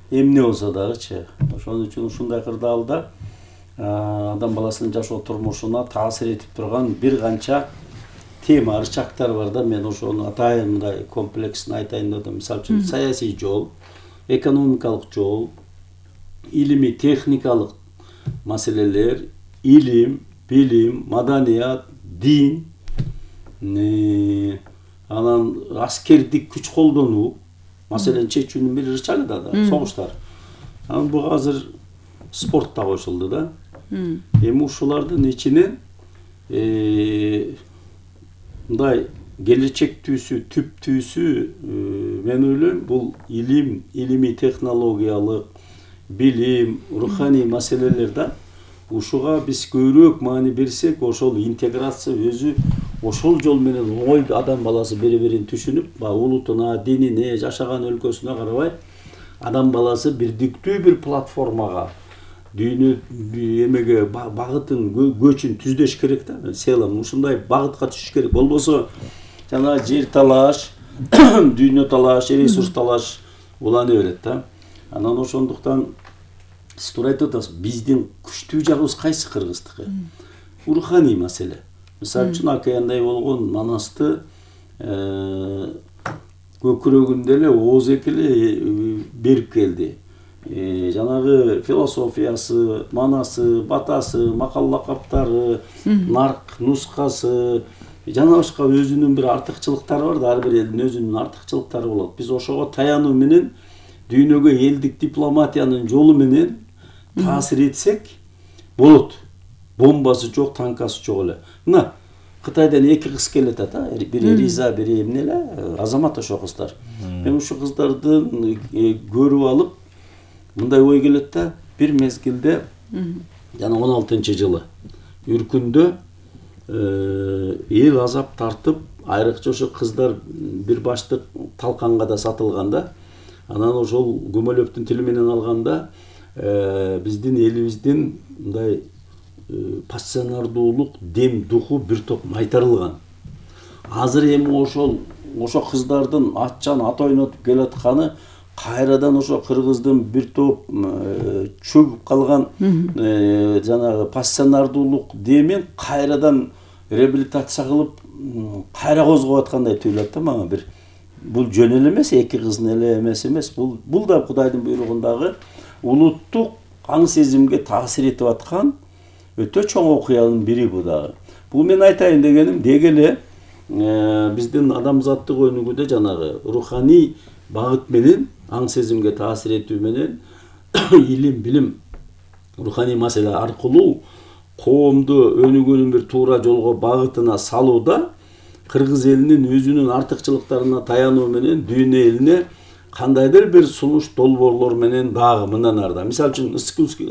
L: Эмне болсо дагычы. Ошон үчүн ушундай кырдаалда адам баласынын жашоо турмушуна таасир этип турган бир канча тема, ырчактар бар да. Мен ошону атайын мындай комплексин айтайын деп атам. Мисалы үчүн саясий жол, экономикалык жол, илимий техникалык маселелер, илим, билим, маданият, дин, анан аскердик күч колдонуу маселени чечүүнүн бир ырчагы да, согуштар. Анан буга азыр спорт да кошулду да. Эми ушулардын ичинен мындай келечектүүсү, түптүүсү мен ойлойм бул илим, илимий технологиялык, билим, руханий маселелер да. Ушуга биз көбүрөөк маани берсек, ошол интеграция өзү ошол жол менен оңой адам баласы бири-бирин түшүнүп, улутуна, динине, жашаган өлкөсүнө карабай, адам баласы бирдиктүү бир платформага, дүйнө эмеге багытын, көчүн түздөш керек да. Мен селам ушундай багытка түшүш керек. Болбосо жана жер талаш, дүйнө талаш, ресурс талаш улана берет да. Анан ошондуктан сиз туура айтып атасыз, биздин күчтүү жагыбыз кайсы Кыргыздыкы? Руханий маселе. Мисалы үчүн акаяндай болгон Манасты көкүрөгүндө эле Оозеки эле берип келди. Жанагы философиясы, манасы, батасы, макал лакаптары, нарк нускасы, жана башка өзүнүн бир артыкчылыктары бар да, ар бир элдин өзүнүн артыкчылыктары болот. Биз ошого таянуу менен дүйнөгө элдик дипломатиянын жолу менен таасир этсек болот. Бомбасы жок, танкасы жок эле. Мына Кытайдан 2 кыз келет ата, бири Риза, бири эмне эле, азамат ошо кыздар. Мен ушу кыздарды көрүп алып мындай ой келет да, бир мезгилде жана 16-жылы Үркүндө эл азап тартып, айрыкча ошо кыздар бир баштык талканга да сатылган да. Анан ошол Гумилевдин тили менен алганда биздин элибиздин мындай пассионардуулук дем духу бир топ майтарылган. Азыр эми ошо кыздардын атчан ат ойнотуп келатканы кайрадан ошо кыргыздын бир топ чөгүп калган жанагы пассионардуулук демен кайрадан реабилитация кылып кайра козгоп аткандай tuyulат да мага бир. Бул жөн эле эмес, 2 кыздын эле эмес. Бул да Кудайдын буйругундагы улуттук аң сезимге таасир этип аткан өтө чоң окуянын бири бу дагы. Бул мен айтайын дегеним, деги эле биздин адамзаттык өнүгүүдө жанагы руханий багыт менен аң сезимге таасир этүү менен илим билим руханий маселе аркылуу коомду өнүгүүнүн бир туура жолго багытына салууда кыргыз элинин өзүнүн артыкчылыктарына таянуу менен дүйнө элине кандайдыр бир сунуш долбоорлор менен дагы мындан арда, мисалы үчүн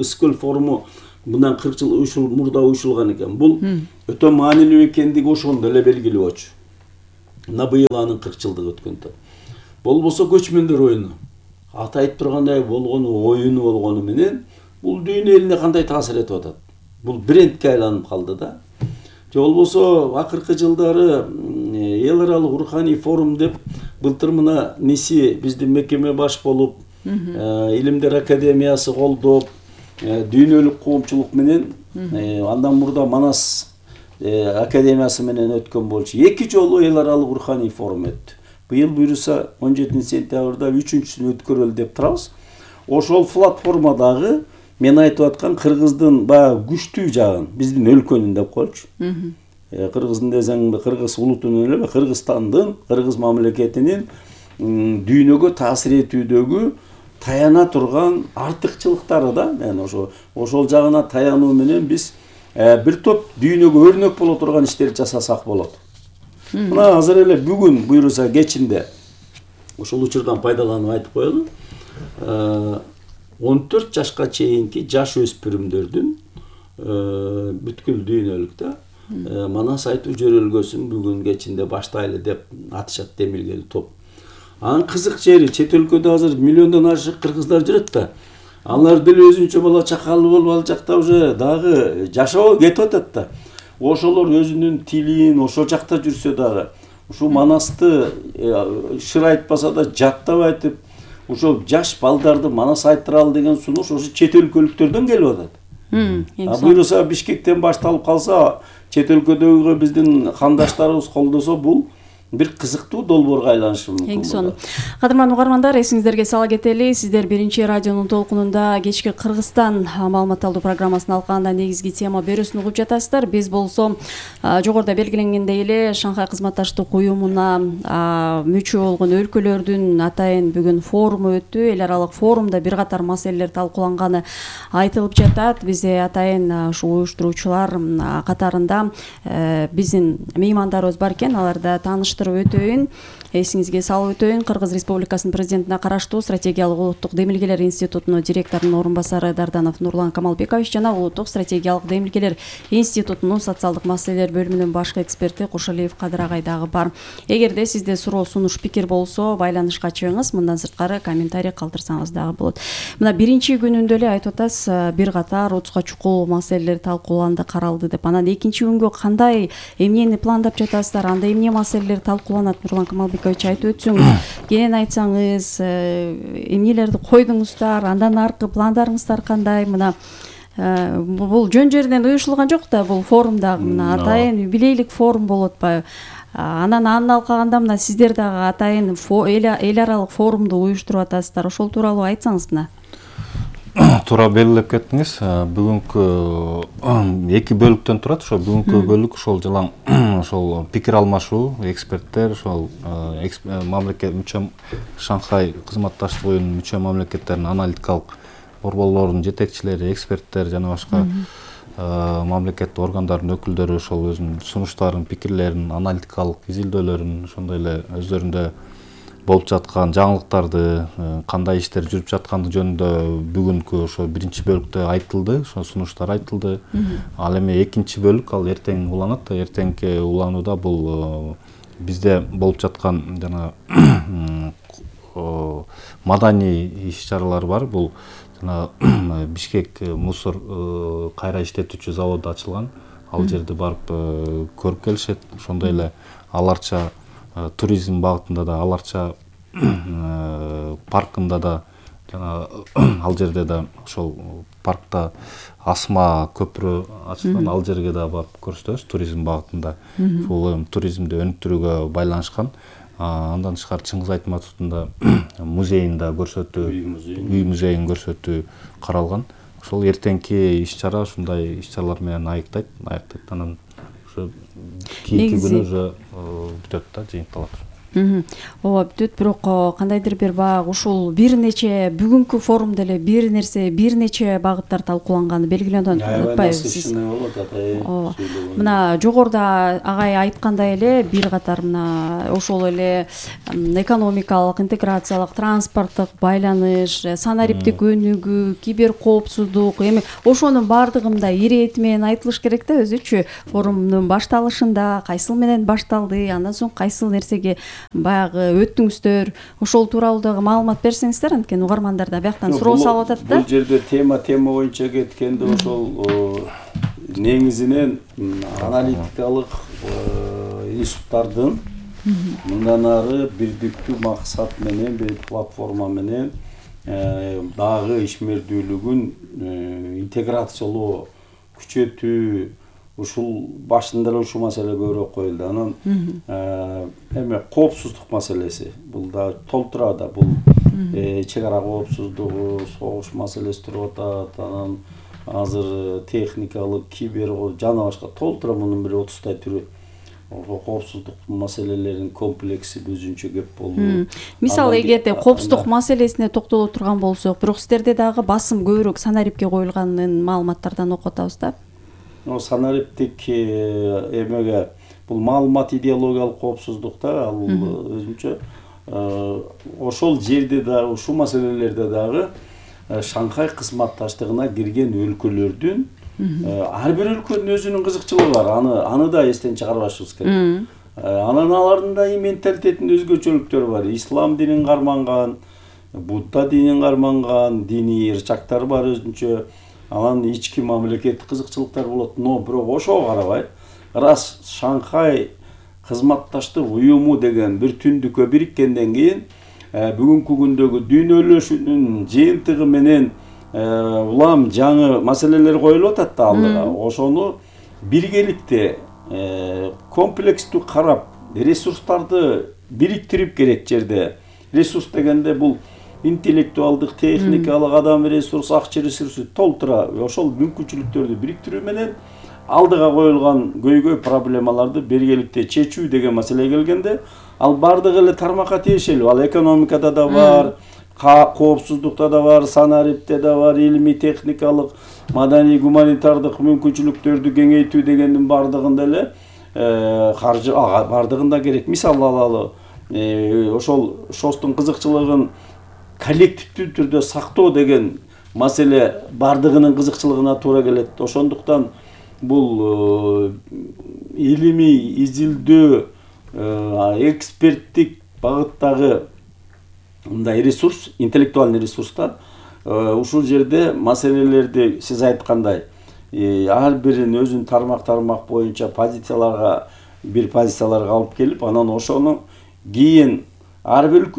L: Ыскөл форуму мындан 40 жыл мурда уюшулган экен. Бул өтө маанилүү экендиги ошондо эле белгилүү болчу. Мына быйыл анын 40 жылдыгы өткөндө. Болбосо көчмөндөр оюну. Аты айтып тургандай оюну болгону менен бул дүйнө элине кандай таасир этип атат? Бул брендке айланып калды да. Же болбосо акыркы жылдары эл аралык руханий форум деп былтыр мына ниси биздин мекеме баш болуп, Илимдер академиясы колдоп, дүйнөлүк коомчулук менен андан мурда Манас академиясы менен өткөн болчу. 2 жолу эл аралык руханий форум өттү. Быйыл буюрса 17 сентябрда 3-үчүсүн өткөрөлү деп турабыз. Ошол платформадагы мен айтып аткан кыргыздын баягы күчтүү жагын биздин өлкөнүн деп коелучу. Кыргыздын десең кыргыз улутунун эле, Кыргызстандын, кыргыз мамлекетинин дүйнөгө таасир этүүдөгү таяна турган артыкчылыктары да. Мен ошол жагына таянуу менен биз бир топ дүйнөгө өрнөк боло турган иштерди жасасак болот. Мына азыр эле бүгүн буюрса кечинде ошол учурдан пайдаланып айтып коелу. 14 жашка чейинки жаш өспүрүмдөрдүн бүткүл дүйнөлүктө Манас айтуу жөрөлгөсүн бүгүн кечинде баштайлы деп атышат демилгели топ. Анын кызык жери чет өлкөдө азыр миллиондон ашык кыргыздар жүрөт да. Алар деле өзүнчө бала чакалы болуп ал жакта уже дагы жашоо кетип атат да. Ошолор өзүнүн тилин ошол жакта жүрсө дагы ушу Манасты шыр айтпаса да жаттап айтып, ошол жаш балдарды Манас айттыралы деген сунуш ошо чет өлкөлүктөрдөн келип атат. Буюрса Бишкектен башталып калса, чет өлкөдөгү биздин кандаштарыбыз колдосо бул бир кызыктуу долбоорго айланышы мүмкүн.
O: Эң сонун. Кадырман угармандар, эсиңиздерге сала кетели, сиздер биринчи радионун толкунунда кечки Кыргызстан маалымат алуу программасын алканда негизги тема берүүсүн угуп жатасыздар. Биз болсо жогоруда белгиленгендей эле Шанхай кызматташтык уюмуна мүчө болгон өлкөлөрдүн атайын бүгүн форуму өттү. Эл аралык форумда бир катар маселелер талкууланганы айтылып жатат. Бизде атайын ушу уюштуруучулар катарында биздин меймандарыбыз бар экен. Аларда тааныштырып өтөйүн, эсиңизге салып өтөйүн. Кыргыз Республикасынын президентине караштуу стратегиялык улуттук демилгелер институтунун директорунун орун басары Дарданов Нурлан Камалбекович жана улуттук стратегиялык демилгелер институтунун социалдык маселелер бөлүмүнүн башкы эксперти Кошалиев Кадыр агай дагы бар. Эгерде сизде суроо, сунуш, пикир болсо, байланышка чыгыңыз, мындан сырткары комментарий калтырсаңыз дагы болот. Мына биринчи күнүндө эле айтып атасыз, бир катар утуска чукул маселелер талкууланды, каралды деп. Анан экинчи күнгө кандай эмнени пландап жатасыздар, анда эмне маселелер талкууланат? Нурлан Камалбекович айтып өтсөңүз, кенен айтсаңыз, эмнелерди койдуңуздар, андан аркы пландарыңыздар кандай? Мына бул жөн жеринен уюшулган жок да, бул форумда мына атайын юбилейлик форум болуп атпайбы? Анан алкаганда мына сиздер дагы атайын эл аралык форумду уюштуруп атасыздар. Ошол тууралуу айтсаңыз мына.
P: Туура белгилеп кеттиңиз. Бүгүнкү 2 бөлүктөн турат. Ошо бүгүнкү бөлүк ошол жылаң ошол пикир алмашуу, эксперттер, ошол мамлекет мүчө Шанхай кызматташтык уюмунун мүчө мамлекеттеринин аналитикалык борборлорунун жетекчилери, эксперттер жана башка мамлекеттик органдардын өкүлдөрү ошол өзүнүн сунуштарын, пикирлерин, аналитикалык изилдөөлөрүн, ошондой эле өздөрүндө болуп жаткан жаңылыктарды, кандай иштер жүрүп жаткандыгы жөнүндө бүгүнкү ошо биринчи бөлүктө айтылды, ошо сунуштар айтылды. Ал эми экинчи бөлүк ал эртең уланат да. Эртеңки уланууда бул бизде болуп жаткан жана маданий иш-чаралар бар. Бул жана Бишкек мусор кайра иштетүүчү заводу ачылган. Ал жерди барып көрүп келишет. Ошондой эле аларча туризм багытында да, аларча паркында да, жана ал жерде да ошол паркта асма көпүрө ачылган, ал жерге да барып көрсөтөбүз туризм багытында. Бул туризмди өнүктүрүүгө байланышкан. Андан тышкары Чыңгыз Айтматовдун музейин да көрсөтүү, үй музейин көрсөтүү каралган. Ошол эртеңки иш-чара ушундай иш-чаралар менен аяктайт. Анан ошо кийинки күнү уже бүтөт да, жыйынталат.
O: Ооба бүтөт, бирок кандайдыр бир баягы ушул бир нече бүгүнкү форумда эле бир нече багыттар талкууланганы белгиленет, атпайбы? Мына жогоруда агай айткандай эле бир катар мына ошол эле экономикалык, интеграциялык, транспорттук байланыш, санариптик өнүгүү, кибер коопсуздук, эми ошонун баардыгы мындай ирети менен айтылыш керек да өзүчү. Форумдун башталышында кайсыл менен башталды, андан соң кайсыл нерсеге баягы өттүңүздөр, ошол тууралуу дагы маалымат берсеңиздер, анткени угармандар да бияктан суроо салып атат да.
L: Бул жерде тема боюнча кеткенде ошол негизинен аналитикалык институттардын мындан ары бирдиктүү максат менен, бир платформа менен дагы ишмердүүлүгүн интеграциялоо, күчөтүү, ушул башында эле ушул маселе көбүрөөк коюлду. Анан эме коопсуздук маселеси бул да толтура да, бул чек ара коопсуздугу, согуш маселеси туруп атат. Анан азыр техникалык, кибер жана башка толтура мунун бир 30 түрү. Коопсуздук маселелеринин комплекси өзүнчө кеп болду.
O: Мисалы эгерде коопсуздук маселесине токтоло турган болсок, бирок сиздерде дагы басым көбүрөөк санарипке коюлганын маалыматтардан окуп атабыз да.
L: Санариптик эмеге бул маалымат идеологиялык коопсуздукта ал өзүнчө ошол жерде дагы ушул маселелерде дагы Шанхай кызматташтыгына кирген өлкөлөрдүн ар бир өлкөнүн өзүнүн кызыкчылыгы бар. Аны да эстен чыгарбашыбыз керек. Анан алардын да менталитетинде өзгөчөлүктөр бар. Ислам динин карманган, Будда динин карманган диний ырчактар бар өзүнчө. Анан ички мамлекеттик кызыкчылыктар болот. Но бирок ошого карабай, раз Шанхай кызматташтык уюму деген бир түндүккө бириккенден кийин бүгүнкү күндөгү дүйнөлөшүүнүн жыйынтыгы менен улам жаңы маселелер коюлуп атат да алдыга. Ошону биргеликте комплекстүү карап, ресурстарды бириктирип керек жерде. Ресурс дегенде бул интеллектуалдык, техникалык, адам ресурс, акча ресурсу толтура ошол мүмкүнчүлүктөрдү бириктирүү менен алдыга коюлган көйгөй проблемаларды биргеликте чечүү деген маселе келгенде, ал бардыгы эле тармакка тиешелүү. Ал экономикада да бар, коопсуздукта да бар, санарипте да бар, илимий техникалык, маданий гуманитардык мүмкүнчүлүктөрдү кеңейтүү дегендин бардыгында эле каржы бардыгында керек. Мисал алалы, ошол ШОСтун кызыкчылыгын коллективдүү түрдө сактоо деген маселе бардыгынын кызыкчылыгына туура келет. Ошондуктан бул илимий изилдөө, эксперттик багыттагы мындай ресурс, интеллектуальный ресурстар ушул жерде маселелерди сиз айткандай ар бирин өзүнүн тармак боюнча позицияларга алып келип, анан ошону кийин ар бир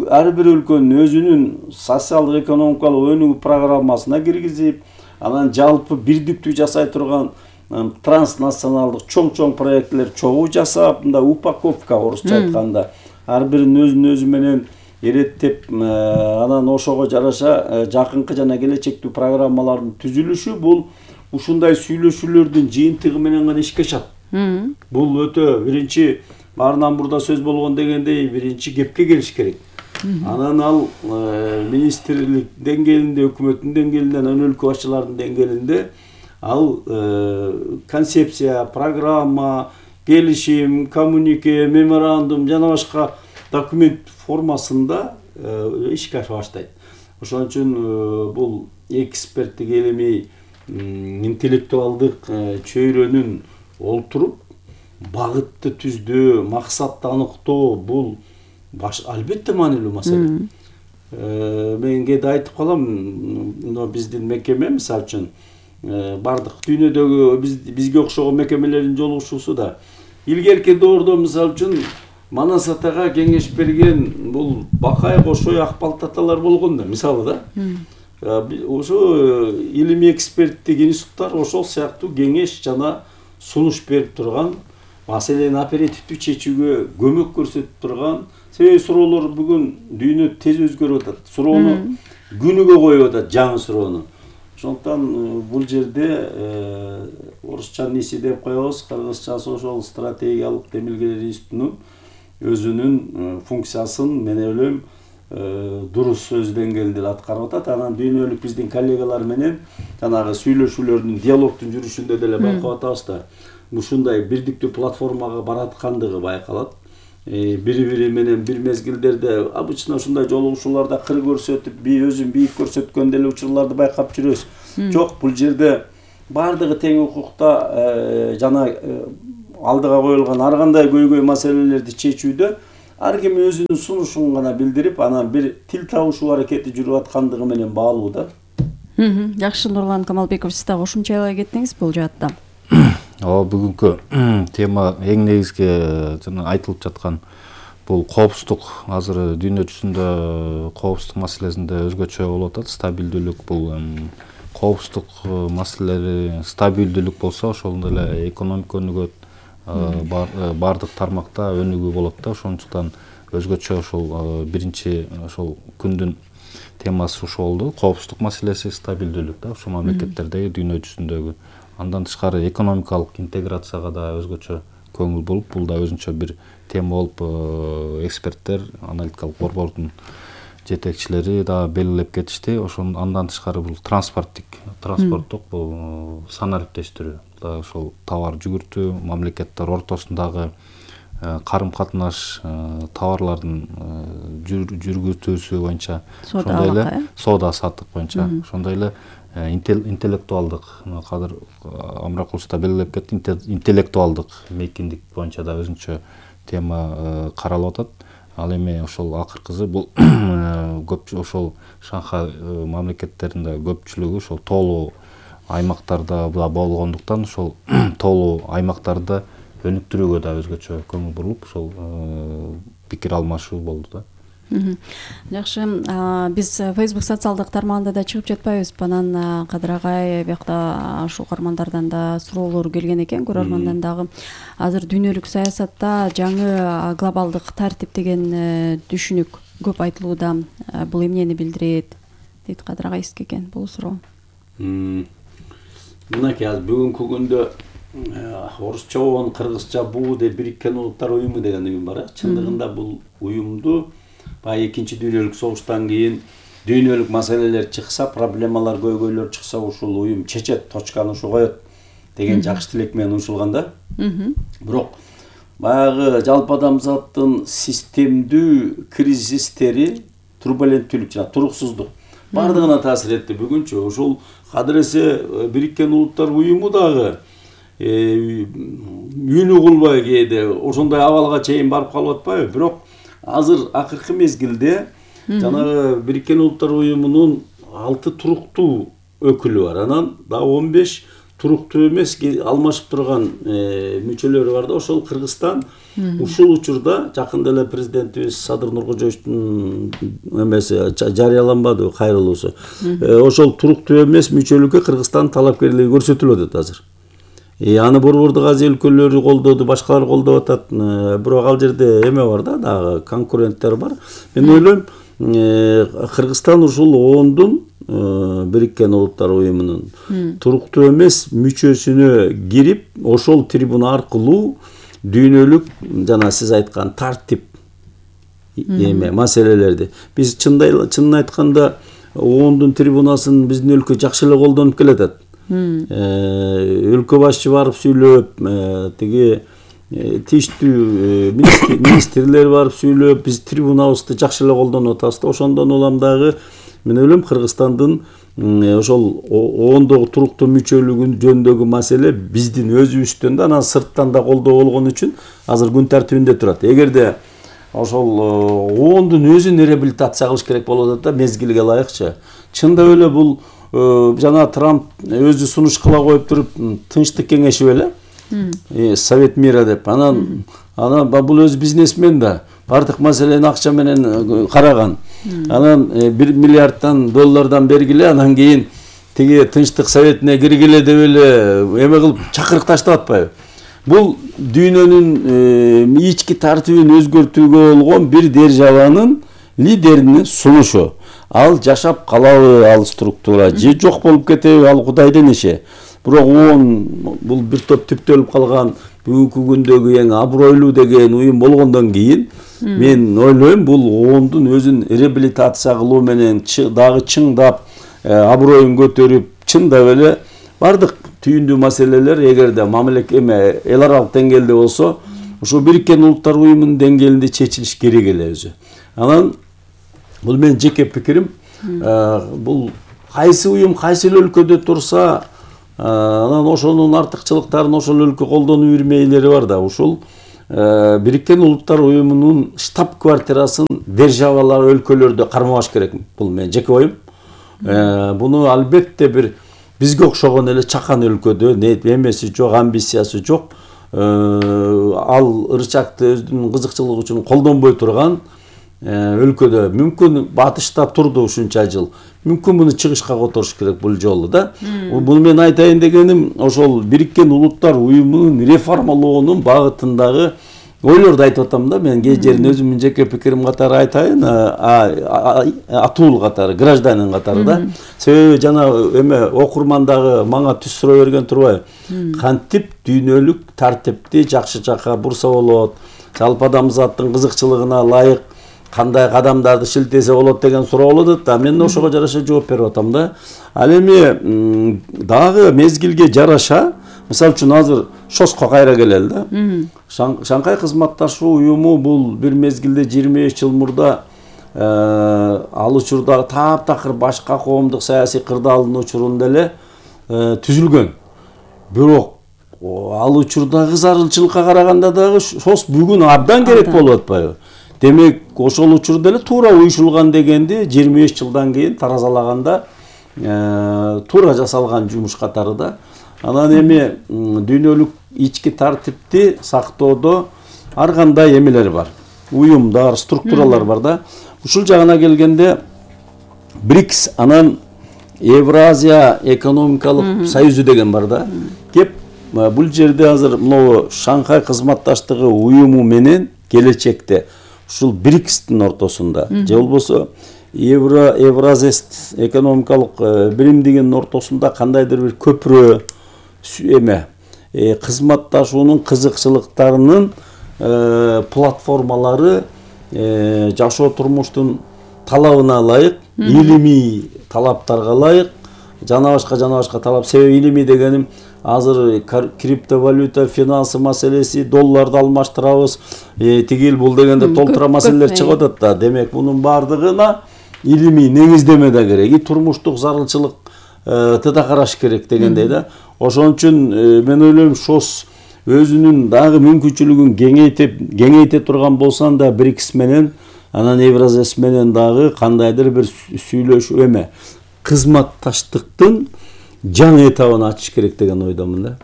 L: өлкөнүн өзүнүн социалдык экономикалык өнүгүү программасына киргизип, анан жалпы бирдиктүү жасай турган транснационалдык чоң проекттер чогуу жасап, мындай упаковка орусча айтканда, ар биринин өзүнүн өзү менен эреттеп, анан ошого жараша жакынкы жана келечектүү программалардын түзүлүшү бул ушундай сүйлөшүүлөрдүн жыйынтыгы менен гана ишке ашат. Бул өтө биринчи баарынан мурда сөз болгон дегендей биринчи кепке келиш керек. Анан ал министрлик деңгээлинде, өкмөттүн деңгээлинде, анан өлкө башчыларынын деңгээлинде ал концепция, программа, келишим, коммунике, меморандум жана башка документ формасында ишке аша баштайт. Ошон үчүн бул эксперттик илимий интеллектуалдык чөйрөнүн олтуруп багытты түздөө, максатты аныктоо бул албетте маанилүү маселе. Мен кээде айтып калам, биздин мекеме мисалы үчүн бардык дүйнөдөгү бизге окшогон мекемелердин жолугушуусу да илгерки доордо мисалы үчүн Манас атага кеңеш берген бул Бакай, Кошой, Акбалт аталар болгон да, мисалы да. Ошо илимий эксперттик институттар ошол сыяктуу кеңеш жана сунуш берип турган, маселени оперативдүү чечүүгө көмөк көрсөтүп турган. Себеби суроолор бүгүн дүйнө тез өзгөрүп атат. Суроону күнүгө коюп атат, жаңы суроону. Ошондуктан бул жерде орусча ниси деп коебуз, кыргызчасы ошол стратегиялык демилгелер институтунун өзүнүн функциясын мен ойлойм дурус өз деңгээлинде аткарып атат. Анан дүйнөлүк биздин коллегалар менен жанагы сүйлөшүүлөрдүн, диалогдун жүрүшүндө деле байкап атабыз да. Ушундай бирдиктүү платформага бараткандыгы байкалат. Бири-бири менен бир мезгилдерде обычно ушундай жолугушууларда кыр көрсөтүп, өзүн бийик көрсөткөн деле учурларды байкап жүрөбүз. Жок, бул жерде бардыгы тең укукта жана алдыга коюлган ар кандай көйгөй маселелерди чечүүдө ар ким өзүнүн сунушун гана билдирип, анан бир тил табышуу аракети жүрүп аткандыгы менен баалуу да.
O: Жакшы, Нурлан Камалбеков, сиз да кошумчалай кеттиңиз бул жаатта.
P: Бүгүнкү тема эң негизги жана айтылып жаткан бул коопсуздук. Азыр дүйнө жүзүндө коопсуздук маселесинде өзгөчө болуп атат. Стабилдүүлүк, бул коопсуздук маселелери стабилдүүлүк болсо, ошондой эле экономика өнүгөт, бардык тармакта өнүгүү болот да. Ошондуктан өзгөчө ошол биринчи ошол күндүн темасы ушул болду. Коопсуздук маселеси, стабилдүүлүк да, ушул мамлекеттердеги дүйнө жүзүндөгү. Андан тышкары экономикалык интеграцияга да өзгөчө көңүл болуп, бул да өзүнчө бир тема болуп, эксперттер, аналитикалык борбордун жетекчилери да белгилеп кетишти. Ошон андан тышкары бул транспорттук бул санариптештирүү да, ошол товар жүгүртүү, мамлекеттер ортосундагы карым-катнаш, товарлардын жүргүзүүсү боюнча, ошондой эле соода-саттык боюнча, ошондой эле интеллектуалдык, кадыр Амракулович да белгилеп кетти, интеллектуалдык мейкиндик боюнча да өзүнчө тема каралып атат. Ал эми ошол акыркысы бул ошол Шанхай мамлекеттеринде көпчүлүгү ошол тоолуу аймактарда болгондуктан, ошол тоолуу аймактарды өнүктүрүүгө да өзгөчө көңүл буруп, ошол пикир алмашуу болду да.
O: Жакшы, биз Facebook социалдык тармагында да чыгып жатпайбыз. Анан Кадыр агай биякта ушул каармандардан да суроолор келген экен, көрөрмандан дагы. Азыр дүйнөлүк саясатта жаңы глобалдык тартип деген түшүнүк көп айтылууда. Бул эмнени билдирет дейт Кадыр агай сизге экен бул суроо.
L: Мынакей азыр бүгүнкү күндө орусча болгон кыргызча буу деп Бириккен Улуттар уюму деген уюм бар. Чындыгында бул уюмду баягы экинчи дүйнөлүк согуштан кийин дүйнөлүк маселелер чыкса, проблемалар, көйгөйлөр чыкса, ушул уюм чечет, точканы ушу коет деген жакшы тилек менен уюшулган да. Бирок баягы жалпы адамзаттын системдүү кризистери, турбуленттүүлүк жана туруксуздук бардыгына таасир этти бүгүнчө. Ушул кадыресе Бириккен Улуттар уюму дагы үнү кулбай кээде ошондой абалга чейин барып калып атпайбы? Бирок азыр акыркы мезгилде жанагы Бириккен Улуттар уюмунун 6 туруктуу өкүлү бар. Анан да 15 туруктуу эмес, алмашып турган мүчөлөрү бар да. Ошол Кыргызстан ушул учурда жакында эле президентибиз Садыр Нуркожоевичтин эмеси жарыяланбадыбы, кайрылуусу. Ошол туруктуу эмес мүчөлүккө Кыргызстандын талапкерлиги көрсөтүлүп атат азыр. Аны Борбордук Азия өлкөлөрү колдоду, башкалар колдоп атат. Бирок ал жерде эме бар да, дагы конкуренттер бар. Мен ойлойм, Кыргызстан ушул оондун Бириккен Улуттар уюмунун туруктуу эмес мүчөсүнө кирип, ошол трибуна аркылуу дүйнөлүк жана сиз айткан тартип эме маселелерди биз чынын айтканда оондун трибунасын биздин өлкө жакшы эле колдонуп келатат. Өлкө башчы барып сүйлөп, тиги тийиштүү министрлер барып сүйлөп, биз трибунабызды жакшы эле колдонуп атабыз да. Ошондон улам дагы мен ойлойм Кыргызстандын ошол оондогу туруктуу мүчөлүгү жөнүндөгү маселе биздин өзүбүздөн да, анан сырттан да колдоо болгон үчүн азыр күн тартибинде турат. Эгерде ошол оондун өзүн реабилитация кылыш керек болуп атат да, мезгилге ылайыкчы. Чындап эле бул жана Трамп өзү сунуш кыла коюп туруп, тынчтык кеңеши беле, Совет мира деп. Анан бул өзү бизнесмен да, бардык маселени акча менен караган. Анан 1 миллиарддан доллардан бергиле, анан кийин тиги Тынчтык Советине киргиле деп эле эме кылып чакырык таштап атпайбы? Бул дүйнөнүн ички тартибин өзгөртүүгө болгон бир державанын
Q: лидеринин сунушу. Ал жашап калабы ал структура же жок болуп кетеби ал Кудайдын иши. Бирок ООН бул бир топ түптөлүп калган бүгүнкү күндөгү эң абройлуу деген уюм болгондон кийин мен ойлойм бул ООНдун өзүн реабилитация кылуу менен дагы чыңдап аброюн көтөрүп чындап эле бардык түйүндүү маселелер эгерде эл аралык деңгээлде болсо ошо Бириккен Улуттар Уюмунун деңгээлинде чечилиш керек эле өзү. Анан бул менин жеке пикирим. Бул кайсы уюм кайсы өлкөдө турса анан ошонун артыкчылыктарын ошол өлкө колдонуу бермейлери бар да. Ушул Бириккен Улуттар Уюмунун штаб-квартирасын державалар өлкөлөрдө кармабаш керек. Бул менин жеке оюм. Буну албетте бир бизге окшогон эле чакан өлкөдө эмеси жок, амбициясы жок, ал ырчакты өзүнүн кызыкчылыгы үчүн колдонбой турган өлкөдө мүмкүн батышта турду ушунча жыл. Мүмкүн муну чыгышка которуш керек бул жолу да. Буну мен айтайын дегеним ошол Бириккен Улуттар Уюмунун реформалоонун багытындагы ойлорду айтып атам да. Мен кээ жерин өзүмдүн жеке пикирим катары айтайын, атуул катары, гражданин катары да. Себеби жана окурмандагы мага түз суроо берген турбайбы? Кантип дүйнөлүк тартипти жакшы жака бурса болот? Жалпы адамзаттын кызыкчылыгына ылайык кандай кадамдарды шилтесе болот деген суроо болот да. Мен ошого жараша жооп берип атам да. Ал эми дагы мезгилге жараша, мисалы үчүн азыр ШОСко кайра келели да. Шанхай кызматташуу уюму бул бир мезгилде 25 жыл мурда ал учурда таптакыр башка коомдук саясий кырдаалдын учурунда эле түзүлгөн. Бирок ал учурдагы зарылчылыкка караганда дагы ШОС бүгүн абдан керек болуп атпайбы? Демек, ошол учурда эле туура уюшулган дегенди 25 жылдан кийин таразалаганда туура жасалган жумуш катары да. Анан эми дүйнөлүк ички тартипти сактоодо ар кандай эмелер бар. Уюмдар, структуралар бар да. Ушул жагына келгенде БРИКС, анан Евразия экономикалык союзу деген бар да. Кеп бул жерде азыр могу Шанхай кызматташтыгы уюму менен келечекте ушул БРИКСтин ортосунда же болбосо Евразест экономикалык биримдигинин ортосунда кандайдыр бир көпүрө кызматташуунун кызыкчылыктарынын платформалары жашоо турмуштун талабына ылайык, илимий талаптарга ылайык, жана башка талап. Себеби илимий дегеним азыр криптовалюта, финансы маселеси, долларды алмаштырабыз, тигил бул дегенде толтура маселелер чыгып атат да. Демек, мунун бардыгына илимий негиздеме да керек, турмуштук зарылчылык да караш керек дегендей да. Ошон үчүн мен ойлойм ШОС өзүнүн дагы мүмкүнчүлүгүн кеңейте турган болсо да БРИКС менен, анан Евразес менен дагы кандайдыр бир сүйлөшүү кызматташтыктын жаңы этабын ачыш керек деген ойдомун да.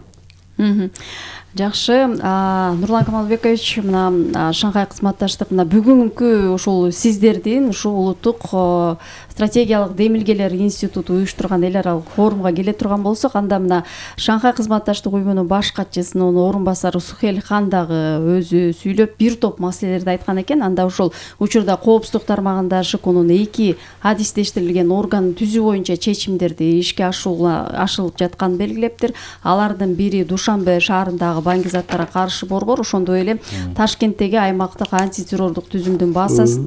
O: Жакшы, Нурлан Камалбекович, мына Шанхай кызматташтык мына бүгүнкү ушул сиздердин ушул улуттук стратегиялык демилгелер институту уюштурган эл аралык форумга келе турган болсок, анда мына Шанхай кызматташтык уюмунун баш катчысынын орун басары Сухель Хан дагы өзү сүйлөп бир топ маселелерди айткан экен. Анда ушул учурда коопсуздук тармагында ШКнун 2 адистештирилген орган түзүү боюнча чечимдерди ишке ашырылып жатканын белгилептир. Алардын бири Душанбе шаарындагы баңгизаттарга каршы борбор, ошондой эле Ташкенттеги аймактык антитеррордук түзүмдүн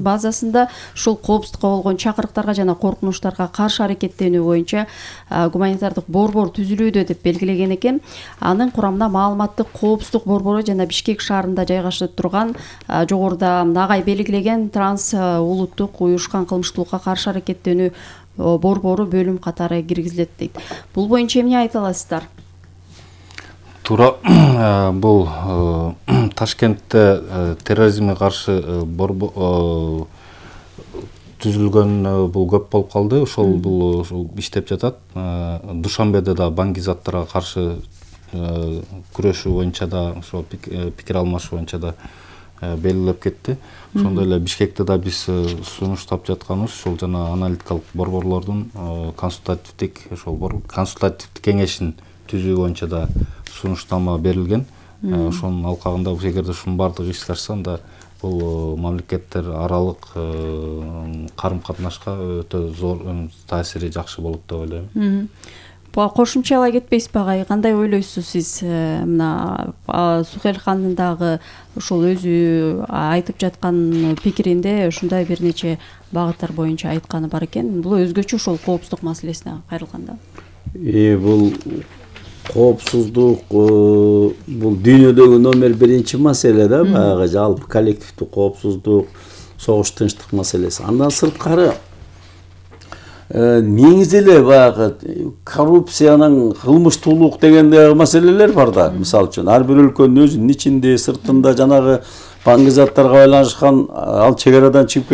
O: базасында ушул коопсуздукка болгон чакырыктарга жана коркунучтарга каршы аракеттенүү боюнча гуманитардык борбор түзүлүүдө деп белгилеген экен. Анын курамына маалыматтык коопсуздук борбору жана Бишкек шаарында жайгашып турган жогоруда нагай белгилеген транс улуттук уюшкан кылмыштуулукка каршы аракеттенүү борбору бөлүм катары киргизилет дейт. Бул боюнча эмне айта аласыздар?
P: Туура, бул Ташкентте терроризмге каршы түзүлгөн бул көп болуп калды. Ошол бул иштеп жатат. Душанбеде да баңгизаттарга каршы күрөшүү боюнча да ошо пикир алмашуу боюнча да белгилеп кетти. Ошондой эле Бишкекте да биз сунуштап жатканыбыз ушул жана аналитикалык борборлордун консультативдик кеңешин түзүү боюнча да сунуштама берилген. Ошонун алкагында эгерде ушунун баардыгы ишке ашса, анда бул мамлекеттер аралык карым катнашка өтө зор таасири жакшы болот деп ойлойм.
O: Кошумчалай кетпейсизби агай, кандай ойлойсуз сиз? Мына Сухелхандын дагы ушул өзү айтып жаткан пикиринде ушундай бир нече багыттар боюнча айтканы бар экен. Бул өзгөчө ушул коопсуздук маселесине кайрылганда.
Q: Бул коопсуздук бул дүйнөдөгү номер 1 маселе да, баягы жалпы коллективдүү коопсуздук, согуш тынчтык маселеси. Андан сырткары негизи эле баягы коррупциянын, кылмыштуулук деген маселелер бар да. Мисалы үчүн ар бир өлкөнүн өзүнүн ичинде, сыртында жанагы баңгизаттарга байланышкан ал чек арадан чыгып